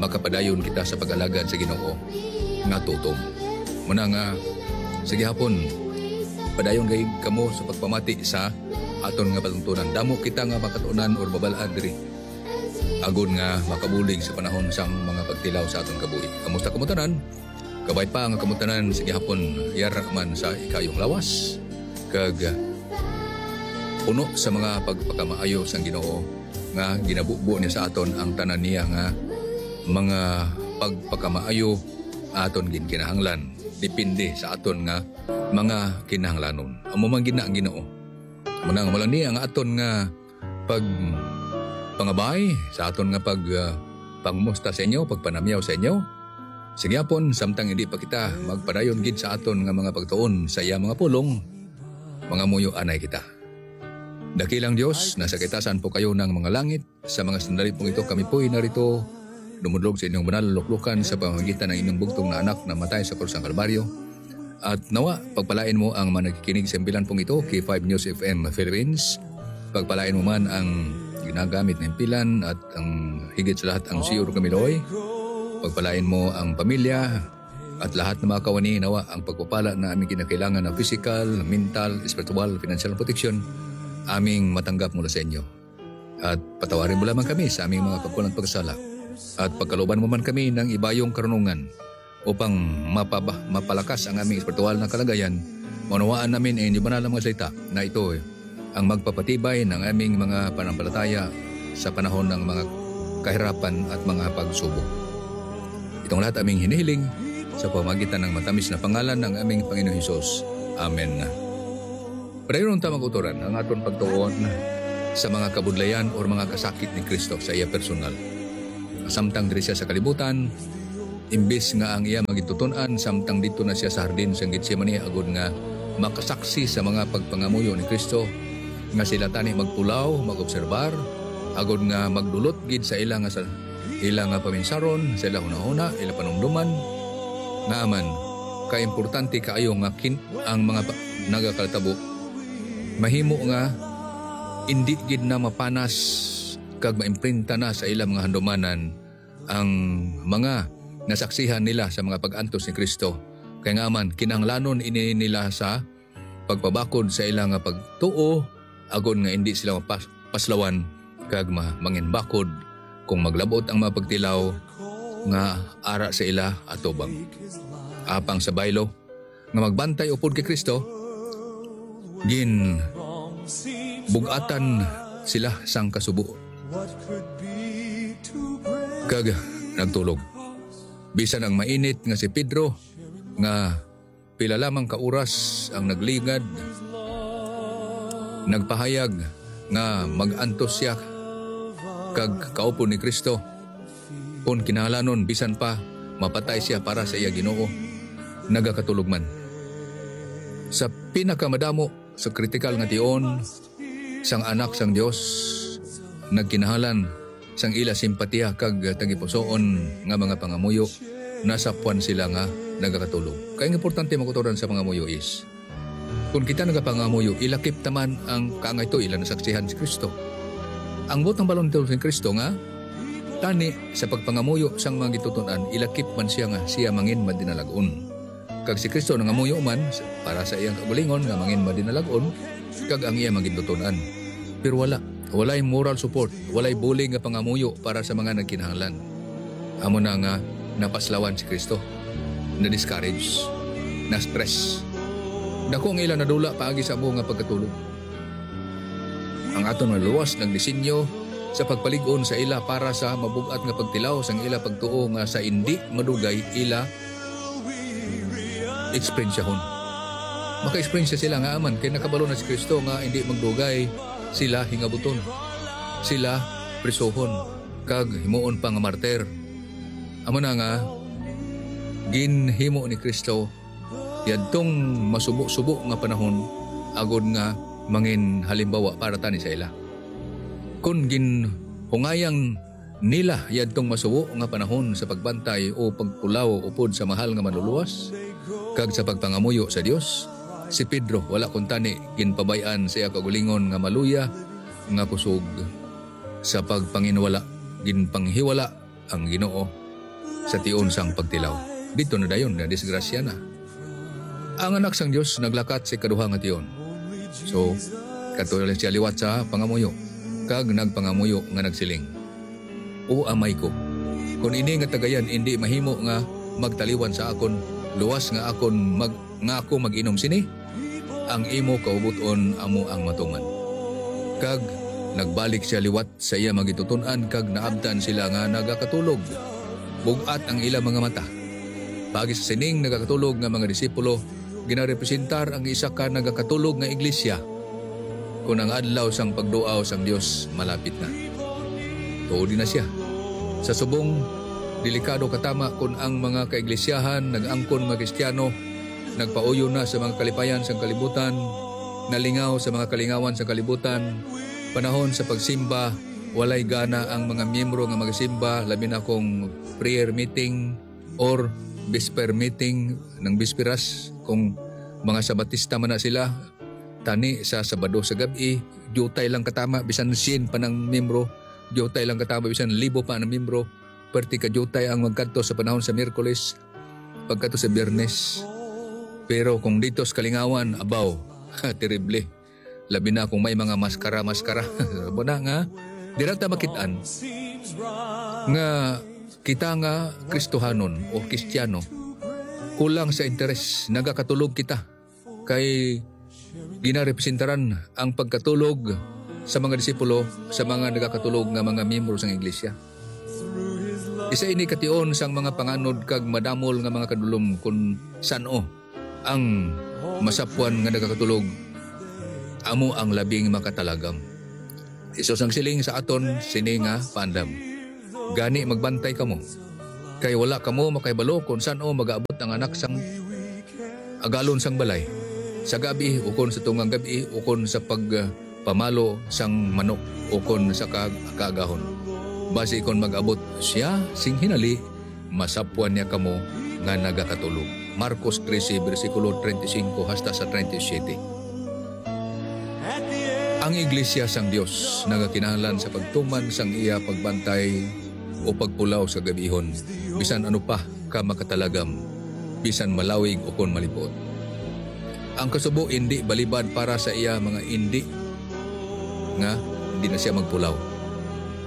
makapadayon kita sa pag-alagad sa Ginoo nga tutom. Muna nga, sa gihapon, padayon gayud kamo sa pagpamati sa aton nga palatuntunan. Damo kita nga makatunan or mabal-an diri, agod nga makabulig sa panahon sang mga pagtilaw sa aton kabuhi. Kamusta kamo tanan? Kabay pa nga kamo tanan sa gihapon, yara man sa ikaayong lawas, kag puno sa mga pagpakamaayo sang Ginoo, nga ginabubo niya sa aton ang tanan niya nga mga pagpakamaayo aton ginkinahanglan, depende sa aton nga mga kinahanglanon. Amo man gid na ang Ginoo. Muna nga, mula ni ang aton nga pagpangabay, sa aton nga pag, ah, pangumusta sa inyo, pagpanamyaw sa inyo. Sa gihapon, samtang hindi pa kita magpadayon gid sa aton nga mga pagtuon sa iya mga pulong, mangamuyo anay kita. Dakilang Dios, nasa kaitasan po kayo ng mga langit. Sa mga sandali pong ito, kami po'y narito, dumudlog sa inyong banal na luklukan sa pamamagitan ng inyong bugtong na anak na matay sa krus ng Kalbaryo. At nawa, pagpalain mo ang mga nakikinig sa himpilan pong ito, K five News F M Philippines. Pagpalain mo man ang ginagamit na himpilan at ang higit sa lahat ang C E O Kamiloy. Pagpalain mo ang pamilya at lahat ng mga kawani, nawa ang pagpapala na aming kinakailangan na physical, mental, spiritual, financial protection, aming matanggap mula sa inyo. At patawarin mo lamang kami sa aming mga pagkulang at pagkasala. At pagkaluban mo man kami ng ibayong karunungan upang mapaba-, mapalakas ang aming espiritual na kalagayan, maunawaan namin ang inyong banal na mga salita na ito ang magpapatibay ng aming mga pananampalataya sa panahon ng mga kahirapan at mga pagsubok. Itong lahat aming hinihiling sa pamamagitan ng matamis na pangalan ng aming Panginoong Hesus. Amen. Padayon ta, mga kautoran, ang aton pagtuon sa mga kabudlayan or mga kasakit ni Kristo sa iya personal. Samtang diri siya sa kalibutan, imbis nga ang iya magitutun-an, samtang didto na siya sa hardin sang Getsemani, agod nga makasaksi sa mga pagpangamuyo ni Kristo, nga sila tani magpulaw, mag-obserbar, agod nga magdulot gid sa ila nga sa ila nga paminsaron, sa ila hunahuna, ila panumdoman, nga aman, kaimportante kaayo nga kin-, ang mga pa-, nagakatabo mahimo nga indi gid na mapanas kag maimprinta na sa ila mga handumanan ang mga nasaksihan nila sa mga pag-antos ni Kristo. Kay nga man, kinahanglanon ini nila sa pagpabakod sa ila nga pagtuo, agod nga indi sila mapas-, paslawan kag ma-, manginbakod kung maglabot ang mga pagtilaw nga ara sa ila atubang. Apang sa baylo nga magbantay upod kay Kristo, gin bug-atan sila sang kasubo kag nagtulog. Bisan ang mainit nga si Pedro, nga pila lamang ka oras ang nagligad, nagpahayag nga mag-antos siya kag kaupod ni Kristo, kon kinahanglanon, bisan pa mapatay siya para sa iya Ginoo, nagakatulog man. Sa pinakamadamo, sa kritikal nga tion sang Anak sang Dios, nagkinahanglan sang ila simpatiya kag tagipusoon nga mga pangamuyo, nasapwan sila nga nagakatulog. Kay ang importante, mga kautoran, sa pangamuyo is, kung kita nagapangamuyo, ilakip ta man ang kaangay to, ila nasaksihan si Kristo. Ang butang balon to si Kristo nga, tani sa pagpangamuyo sang mga gintutun-an, ilakip man siya nga siya mangin madinalag-on. Kag si Kristo nangamuyo man para sa iyang kagulingon nga mangin madinalag-on kag ang iya magintutun-an. Pero wala, walay moral support, walay bulig nga pangamuyo para sa mga nagkinahanglan. Amo na nga napaslawan si Kristo, na-discourage, na-stress. Dako ang ila nadula paagi sa amo nga pagkatulog. Ang aton nga luwas nagdisenyo sa pagpalig-on sa ila para sa mabug-at nga pagtilaw sang ila pagtuo nga sa indi madugay ila eksperensyahon. Maka-eksperyensya sila nga aman kay nakabalo na si Kristo nga indi magdugay sila hingabuton, sila prisuhon, kag himuon pa nga martir. Amo na nga ginhimo ni Kristo yadtong masubo-subo nga panahon, agod nga mangin halimbawa para tani sa ila. Kon ginhungayang nila yadtong masubo nga panahon sa pagbantay o pagpulaw upod sa mahal nga Manluluwas kag sa pagpangamuyo sa Dios, si Pedro wala kuntani ginpabay-an sa iya kaugalingon nga maluya nga kusog. Sa pagpanginwala, ginpanghiwala ang Ginoo sa tion sang pagtilaw. Didto na dayon nadisgrasya na. Ang Anak sang Dios naglakat sa ikaduha nga tion. So, kadto na siya liwat sa pangamuyo, kag nagpangamuyo nga nagsiling, "O Amay ko, kon ini nga tagayan indi mahimo nga magtaliwan sa akon, luwas nga akon mag-, nga ako mag-inom sini, ang imo kaubot-on amo ang matuman." Kag nagbalik siya liwat sa iya mga gintutun-an kag naabtan sila nga nagakatulog. Bug-at ang ila mga mata. Paagi sa sining nagakatulog nga mga disipulo, ginarepresentar ang isa ka nagakatulog nga iglesia, kon ang adlaw sang pagduaw sang Dios malapit na. Tuod na siya. Sa subong, delikado katama kon ang mga kaiglesiyahan nag-angkon nga Kristiyano nagpauyon na sa mga kalipayan sang kalibutan, nalingaw sa mga kalingawan sang kalibutan, panahon sa pagsimba, walay gana ang mga miyembro nga magasimba, labi na kung prayer meeting or Vesper meeting, nang bisperas, kung mga Sabatista man na sila, tani sa Sabado sa gab-i, diutay lang katama, bisan sien pa nang membro, diutay lang katama, bisan libo pa nang membro, perti ka diutay ang magkadto sa panahon sa Miyerkules, pagkadto sa Biyernes. Pero kung dito sa Kalingawan, abaw, terrible. Labi na kung may mga maskara-maskara. Amo na nga, dira ta makit-an nga kita nga Kristohanon o Kristiyano, kulang sa interes, nagakatulog kita. Kay ginarepresentaran ang pagkatulog sa mga disipulo sa mga nagakatulog nga mga miyembro sang iglesia. Isa ini ka tion sang mga panganod kag madamol nga mga kadulom, kun san-o ang masapwan nga nagakatulog amo ang labing makatalagam. Jesus nagsiling sa aton sini nga paandam: "Gani magbantay kamo, kay wala kamo makahibalo kon san-o magaabot ang Anak sang Agalon sang Balay, sa gab-i ukon sa tungang gab-i, ukon sa pagpamalo sang manok, ukon sa kaag-, kaagahon. Basi kon mag-abot sia sing hinali, masapwan niya kamo nga nagakatulog." Marcos trese, bersikulo treinta y cinco hasta sa treinta y siete. Ang iglesia sang Dios nagakinahanglan sa pagtuman sang iya pagbantay o pagpulaw sa gab-ihon, bisan ano pa ka makatalagam, bisan malawig ukon malipot. Ang kasubo indi balibad para sa iya mga indi nga di na sia magpulaw.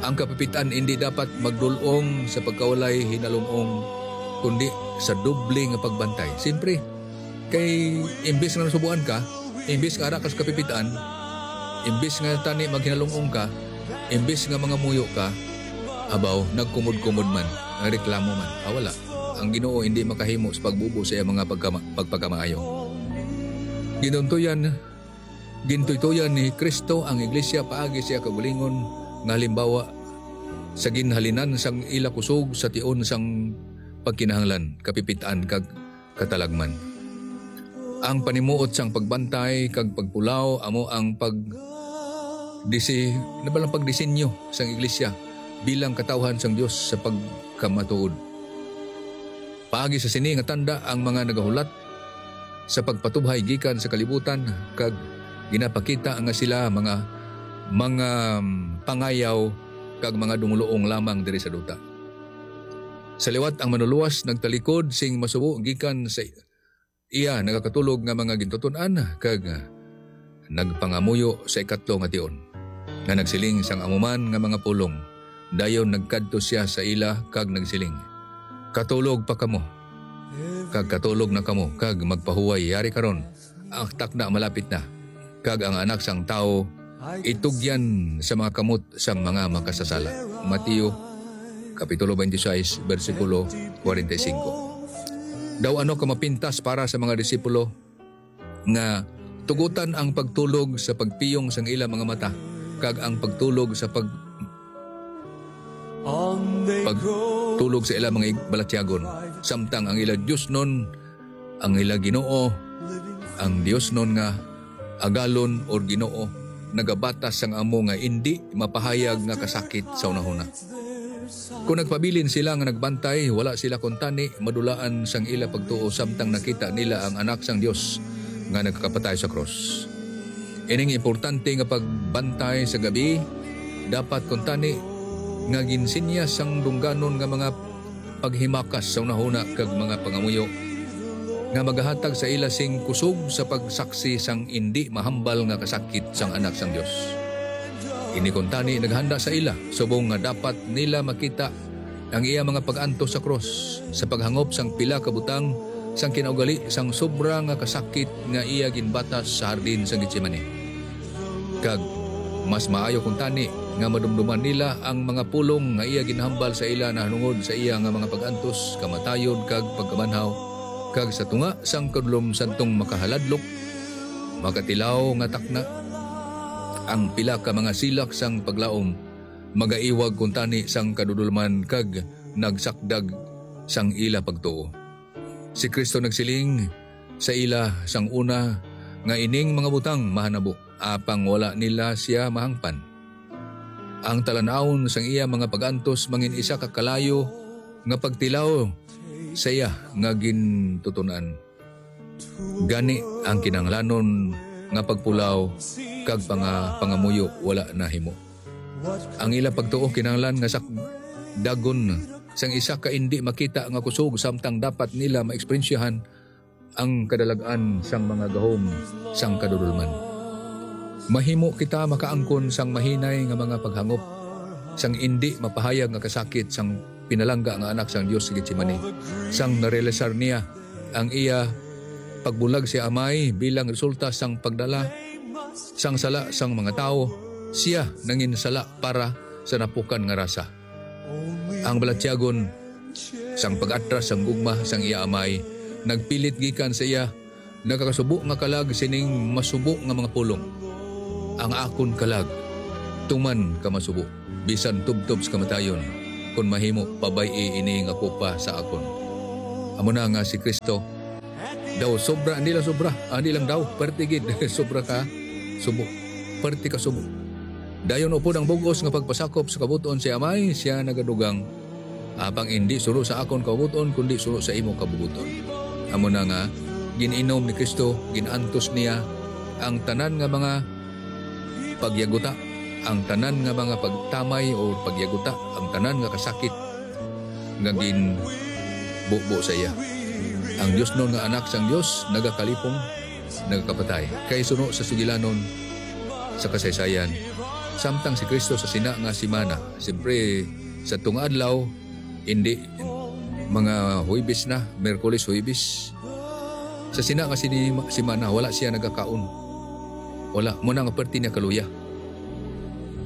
Ang kapipit-an indi dapat magdul-ong sa pagkawalay hinalum-ong, kundi sa doble nga pagbantay. Siyempre, kay imbis nga nasubuan ka, imbis nga ara ka sa kapipit-an, imbis nga tani maghinalum-ong ka, imbis nga mangamuyo ka, abaw, nagkumod-kumod man, nagreklamo man. Ah, wala. Ang Ginoo indi makahimo sa pagbubo sa iya mga pagkama-, pagpakamaayo. Ginuntuyan, gintuytoyan ni Cristo ang iglesia paagi sa iya kaugalingon nga halimbawa sa ginhalinan sang ila kusog sa tion sang pagkinahanglan, kapipit-an, kag katalagman. Ang panimuot sang pagbantay kag pagpulaw amo ang pag-, disi-, nabalang pagdisenyo sang iglesia bilang katawhan sang Dios sa pagkamatuod. Paagi sa sini nga tanda, ang mga nagahulat sa pagpatubhay gikan sa kalibutan kag ginapakita nga sila mga, mga, um, pangayaw kag mga dumuluong lamang diri sa duta. Sa liwat, ang Manlulowas nagtalikod sing masubo gikan sa iya nagakatulog nga mga gintuton-an kag nagpangamuyo sa ikatlo nga tion, nga nagsiling sang amo man nga mga pulong. Dayon nagkadto sia sa ila kag nagsiling, "Katulog pa kamo, kag katulog na kamo, kag magpahuway, yari karon, ang takna malapit na, kag ang Anak sang Tawo itugyan sa mga kamot sang mga makasasala." Mateo, Kapitulo twenty-six, bersikulo forty-five. Daw ano ka mapintas para sa mga disipulo nga tugutan ang pagtulog sa pagpiyong sang ila mga mata, kag ang pagtulog sa pag-, pagtulog sa ila mga ig-, balatyagon, samtang ang ila diosnon, ang ila Ginoo, ang diosnon nga agalon or Ginoo, nagabatas sang amo nga indi mapahayag nga kasakit sa hunahuna. Kon nagpabilin sila nga nagbantay, wala sila kuntani madulaan sang ila pagtuo samtang nakita nila ang Anak sang Dios nga nagakapatay sa krus. Ining importante nga pagbantay sa gab-i dapat kuntani nga ginsinyas sang dungganon nga mga paghimakas sa hunahuna kag mga pangamuyo nga magahatag sa ila sing kusog sa pagsaksi sang indi mahambal nga kasakit sang Anak sang Dios. Ini kuntani naghanda sa ila subong nga dapat nila makita ang iya mga pag-antos sa krus sa paghangop sang pila ka butang sang kinaugali sang sobra nga kasakit nga iya ginbatas sa hardin sa Getsemane. Kag mas maayo kuntani nga madumduman nila ang mga pulong nga iya ginhambal sa ila nahanungod sa iya nga mga pag-antos, kamatayon, kag pagkabanhaw, kag sa tunga sang kadulom sadtong makahaladlok, makatilaw nga takna, ang pila ka mga silak sang paglaom magaiwag kuntani sang kadudolman kag nagsakdag sang ila pagtuo. Si Cristo nagsiling sa ila sang una nga ining mga butang mahanabo, apang wala nila sia mahangpan. Ang talan-awon sang iya mga pag-antos mangin isa ka kalayo nga pagtilaw sa iya nga gintuton-an. Gani ang kinahanglanon nga pagpulaw kag panga-, pangamuyo wala nahimo. Ang ila pagtuo kinahanglan nga sakdagon sang isa ka indi makita nga kusog, samtang dapat nila maeksperiensyahan ang kadalag-an sang mga gahom sang kadulolman. Mahimo kita makaangkon sang mahinay nga mga paghangop, sang indi mapahayag nga kasakit sang pinalangga nga Anak sang Dios sa Getsemani, sang narealisar niya ang iya pagbulag sa Amay bilang resulta sang pagdala sang sala sang mga tawo. Siya nanginsala para sa napukan nga rasa. Ang balatyagon sang pag-atras sang gugma sang iya Amay nagpilit gikan sa iya, nagakasubo nga kalag sining masubo nga mga pulong: "Ang akon kalag, tuman ka masubo, bisan tubtob sa kamatayon, kon mahimo, pabay-i ini nga kopa sa akon." Amo na nga si Cristo daw sobra, hindi lang sobra, hindi lang daw, perte gid, sobra ka subo, perte ka subo. Dayon upod ang bug-os nga pagpasakop sa kabubut-on sa Amay, siya nagadugang: "Apang indi suno sa akon kabubut-on, kundi suno sa imo kabubut-on." Amo na nga, gin-inom ni Cristo, gin-antos niya ang tanan nga mga pagyaguta, ang tanan nga mga pagtamay o pagyaguta, ang tanan nga kasakit nga ginbubo sa iya. Ang diosnon nga Anak sang Dios nagakalipong, nagakapatay. Kay suno sa sugilanon sa kasaysayan, samtang si Cristo sa sina nga semana, siyempre, sa tunga adlaw, hindi, mga Huwebes na, Miyerkules, Huwebes. Sa sina nga sini-, semana, wala siya nagakaon. Wala, muna nga perti niya kaluya.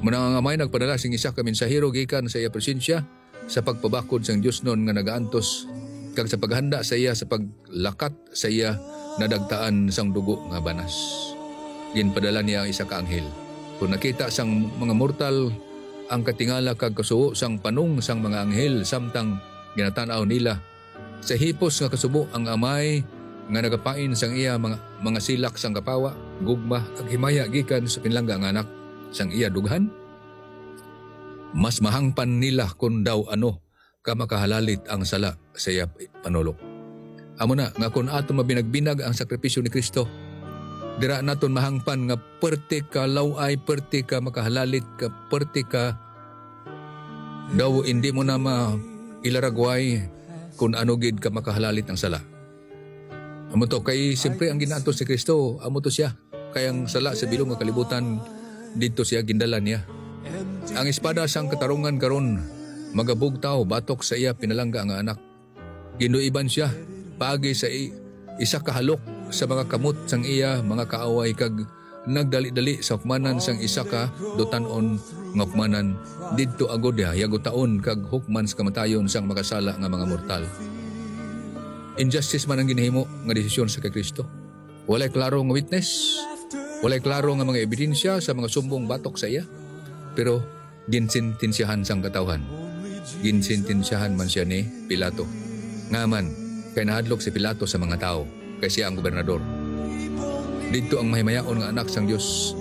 Muna nga may nagpadala sing isa ka mensahero gikan sa iya presensya, sa pagpabakod sang diosnon nga nagaantos, kag sa paghanda sa iya sa paglakat sa iya nadagtaan sang dugo nga banas. Ginpadala niya ang isa ka anghel. Kon nakita sang mga mortal ang katingala kag kasubo sang panong sang mga anghel, samtang ginatan-aw nila sa hipos nga kasubo ang Amay nga nagapain sang iya mga, mga silak sang kapawa, gugma, kag himaya gikan sa pinalangga nga Anak sang iya dughan, mas mahangpan nila kon daw ano ka makahalalit ang sala sa iya panulok. Amo na nga kon aton mabinagbinag ang sakripisyo ni Cristo, dira naton mahangpan nga perti ka law-ay, perti ka makahalalit, ka perti ka daw indi mo na mailaragway kon ano gid ka makahalalit ang sala. Amo to, kay siyempre ang ginaantos ni Cristo, amo to siya. Kay ang sala sa bilog nga kalibutan, didto siya gindala niya. Ang espada sang katarungan karon magabugtaw batok sa iya pinalangga nga Anak. Ginduiban siya paagi sa i-, isa ka halok sa mga kamot sang iya mga kaaway, kag nagdali-dali sa hukmanan sang isa ka dutan-on nga hukmanan, didto agod yagutaon kag hukman sa kamatayon sang makasala nga mga mortal. Injustice man ang ginahimo nga desisyon sa kay Cristo. Walay klaro nga witness, walay klaro nga mga ebidensya sa mga sumbong batok sa iya. Pero ginsentensyahan sang katawhan. Ginsentensyahan man sia ni Pilato, nga man kay nahadlok si Pilato sa mga tawo, kay sia ang gobernador. Didto ang mahimayaon nga Anak sang Dios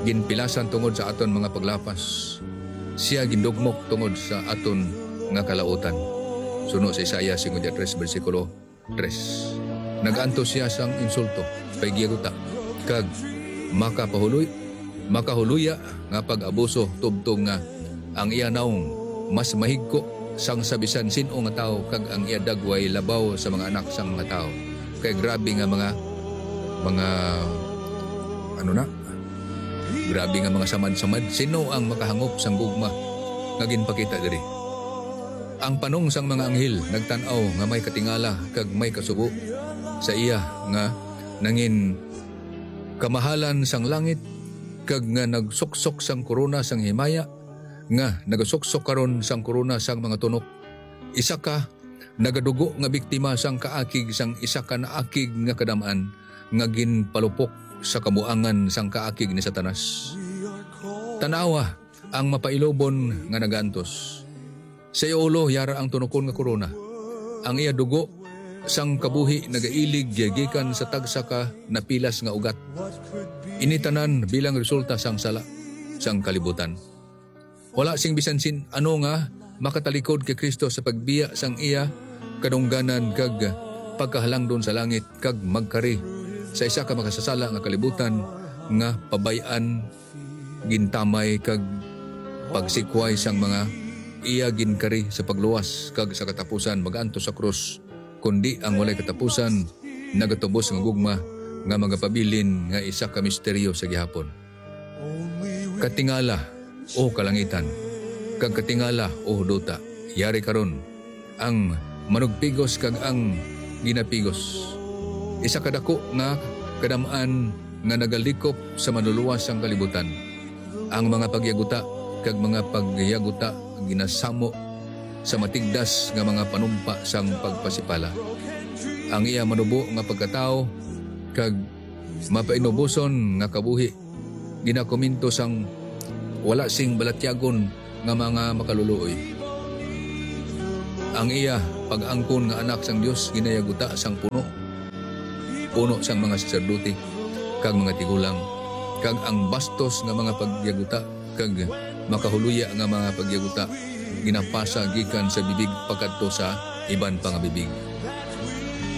ginpilasan tungod sa aton mga paglapas. Sia gindugmok tungod sa aton nga kalautan. Suno sa Isaias singko tres, bersikulo tres. Nag-antos sia sang insulto, pagyaguta, kag makapahuloy, makahuloya nga pag-abuso, tubtob nga ang iya nawong mas mahigko sang sa bisan sin-o nga tawo, kag ang iya dagway labaw sa mga anak sang mga tawo. Kay grabe nga mga, mga, ano na, grabe nga mga samad-samad. Sino ang makahangop sang gugma nga ginpakita diri? Ang panong sang mga anghel nagtan-aw nga may katingala kag may kasubo sa iya nga nangin kamahalan sang langit, kag nga nagsuksok sang korona sang himaya, nga nagasuksok karon sang korona sang mga tunok. Isa ka nagadugo nga biktima sang kaakig sang isa ka naakig nga kadam-an nga ginpalupok sa kabuangan sang kaakig ni Satanas. Tan-awa ang mapailubon nga nagaantos. Sa iya ulo yara ang tunokon nga korona. Ang iya dugo sang kabuhi nagailig gikan sa tagsa ka napilas nga ugat. Ini tanan bilang resulta sang sala sang kalibutan. Wala sing bisan sin-ano nga makatalikod kay Cristo sa pagbiya sang iya kadungganan kag pagkahalangdon sa langit, kag magkari sa isa ka makasasala nga kalibutan nga pabay-an, gintamay, kag pagsikway sang mga iya ginkari sa pagluwas kag sa katapusan mag-antos sa krus, kundi ang walay katapusan nagatubos nga gugma nga magapabilin nga isa ka misteryo sa gihapon. Katingala, O kalangitan, kag katingala, O duta, yari karon ang manugpigos kag ang ginapigos. Isa ka dako nga kadam-an nga nagalikop sa manluluwas sang kalibutan. Ang mga pagyaguta kag mga pagyaguta ginasamo sa matigdas nga mga panumpa sang pagpasipala. Ang iya manubo nga pagkatawo kag mapainuboson nga kabuhi ginakomento sang wala sing balatyagon nga mga makaluluoy. Ang iya pag-angkon nga Anak sang Dios ginayaguta sang puno, puno sang mga saserdote kag mga tigulang, kag ang bastos nga mga pagyaguta kag makahuluya nga mga pagyaguta ginapasa gikan sa bibig pakadto sa iban pa nga bibig.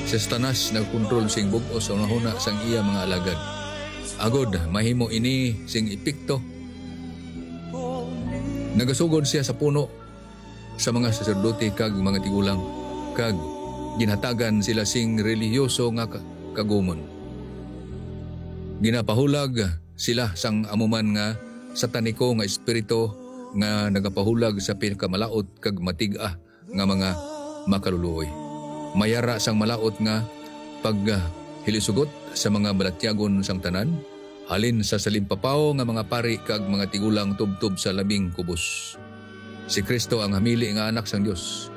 Si Satanas nagkontrol sing bug-os sa hunahuna sang iya mga alagad. Agod mahimo ini sing epekto, nagasugod sia sa puno sa mga saserdote kag mga tigulang, kag ginhatagan sila sing relihiyoso nga ka-, kagumon. Ginapahulag sila sang amo man nga sataniko nga espiritu nga nagapahulag sa pinakamalaut kag matig-a nga mga makaluluoy. Mayara sang malaut nga paghilisugot sa mga balatyagon sang tanan, halin sa salimpapaw nga mga pari kag mga tigulang tubtob sa labing kubos. Si Cristo ang hamili nga Anak sang Dios.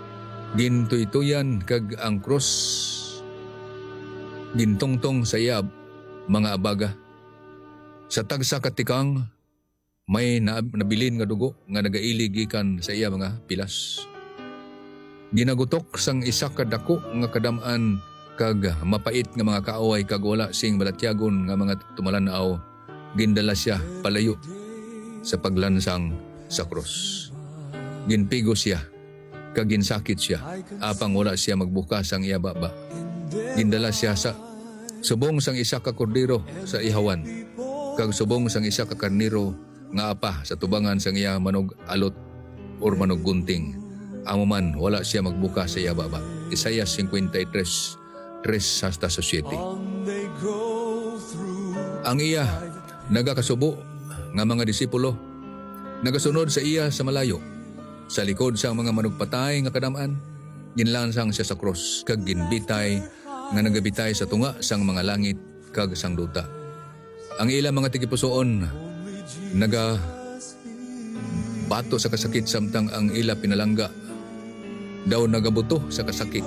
Gintuytoyan kag ang krus gintungtong sa iya mga abaga. Sa tagsa ka tikang, may na-, nabilin nga dugo nga nagaili gikan sa iya mga pilas. Ginagutok sang isa ka dako nga kadam-an kag mapait nga mga kaaway kag wala sing balatyagon nga mga tumalan-aw, gindala sia palayo sa paglansang sa krus. Ginpigos sia kag ginsakit sia, apang wala sia magbukas sang iya baba. Gindala sia sa subong sang isa ka kordero sa ihawan, kag subong sang isa ka karnero nga apa sa tubangan sang iya manug-alot or manuggunting. Amo man, wala sia magbukas sa iya baba. Isaias fifty-three, three hasta sa siete. Ang iya nagakasubo nga mga disipulo nagasunod sa iya sa malayo. Sa likod sang mga manugpatay nga kadam-an, ginlansang sia sa krus kag ginbitay nga nagabitay sa tunga sang mga langit kag sang duta. Ang ila mga tagipusoon nagabato sa kasakit, samtang ang ila pinalangga daw nagabuto sa kasakit.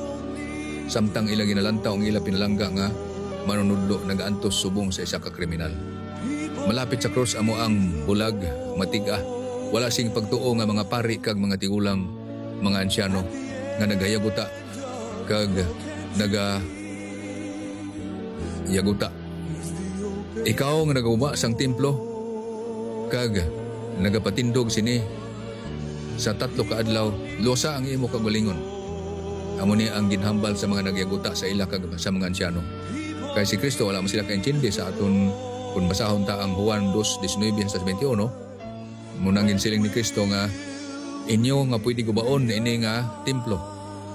Samtang ila ginalantaw ang ila pinalangga nga manunodlo, nagaantos subong sa isa ka kriminal. Malapit sa krus amo ang bulag, matig-a, wala sing pagtuo nga mga pari kag mga tigulang, mga ansiyano nga nagayaguta kag nagayaguta. Ikaw nga nagauma sang templo kag nagapatindog sini sa tatlo ka adlaw, luwasa ang imo kaugalingon. Amo ni ang ginhambal sa mga nagyaguta sa ila kag sa mga ansiyano. Kay si Cristo wala man sila kaintindi sa aton, kung basahon ta ang Juan dos diecinueve hasta sa twenty-one, mao nang ginsiling ni Cristo nga, "Inyo nga pwede gubaon ini nga templo,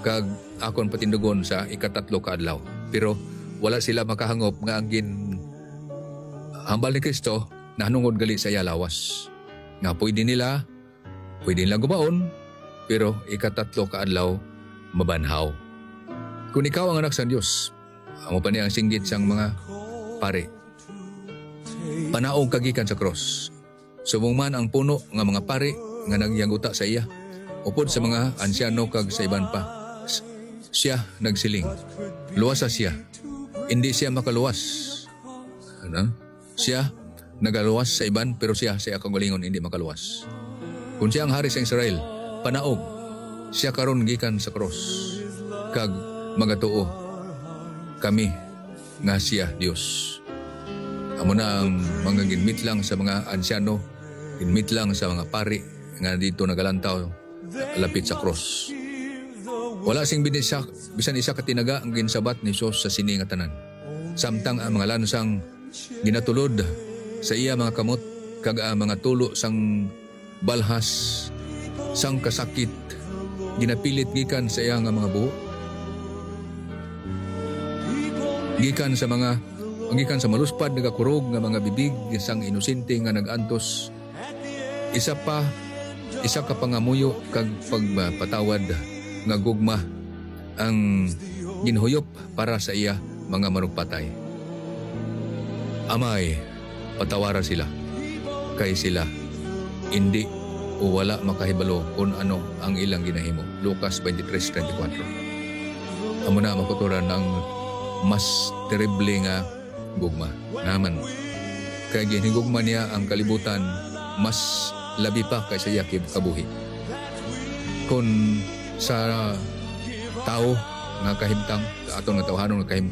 kag akon patindugon sa ikatatlo ka adlaw." Pero wala sila makahangop nga ang ginhambal ni Cristo nahanungod gali sa iya lawas, nga pwede nila, pwede nila gubaon, pero ikatatlo ka adlaw mabanhaw. Kung ikaw ang Anak sang Dios, amo pa ni ang singgit sang mga pari, panaog ka gikan sa krus. Subong man ang puno nga mga pari nga nagyaguta sa iya, upod sa mga ansiyano kag sa iban pa, s-, siya nagsiling, "Luwasa siya. Indi siya makaluwas." Ano? Siya nagaluwas sa iban, pero siya sa iya kaugalingon indi makaluwas. Kung siya ang hari sa Israel, panaog siya karon gikan sa krus, kag magatuo kami nga siya Dios. Amo na ang mga ginmitlang sa mga ansiyano, ginmitlang sa mga pari nga dito nagalantaw lapit sa krus. Wala sing bisan isa, bisan isa ka tinaga ang ginsabat ni Jesus sa sini nga tanan. Samtang ang mga lansang ginatulod sa iya mga kamot, kag ang mga tulo sang balhas sang kasakit ginapilit gikan sa iya nga mga buho, gikan sa mga gikan sa maluspad nagakurog nga mga bibig sang inosente nga nag-antos. Isa pa, isa ka pangamuyo kag pagpatawad nga gugma ang ginhuyop para sa iya mga manugpatay. Amay, patawara sila, kay sila indi o wala makahibalo kon ano ang ilang ginahimo. Lucas twenty-three thirty-four. Amo na, mga kauturan, ang mas terrible nga gugma naman. Kay ginhigugma niya ang kalibutan mas labi pa kaysa iya kib-, kabuhi. Kon sa tawo nga kahimtang, sa aton nga tawhanon nga kahimtang,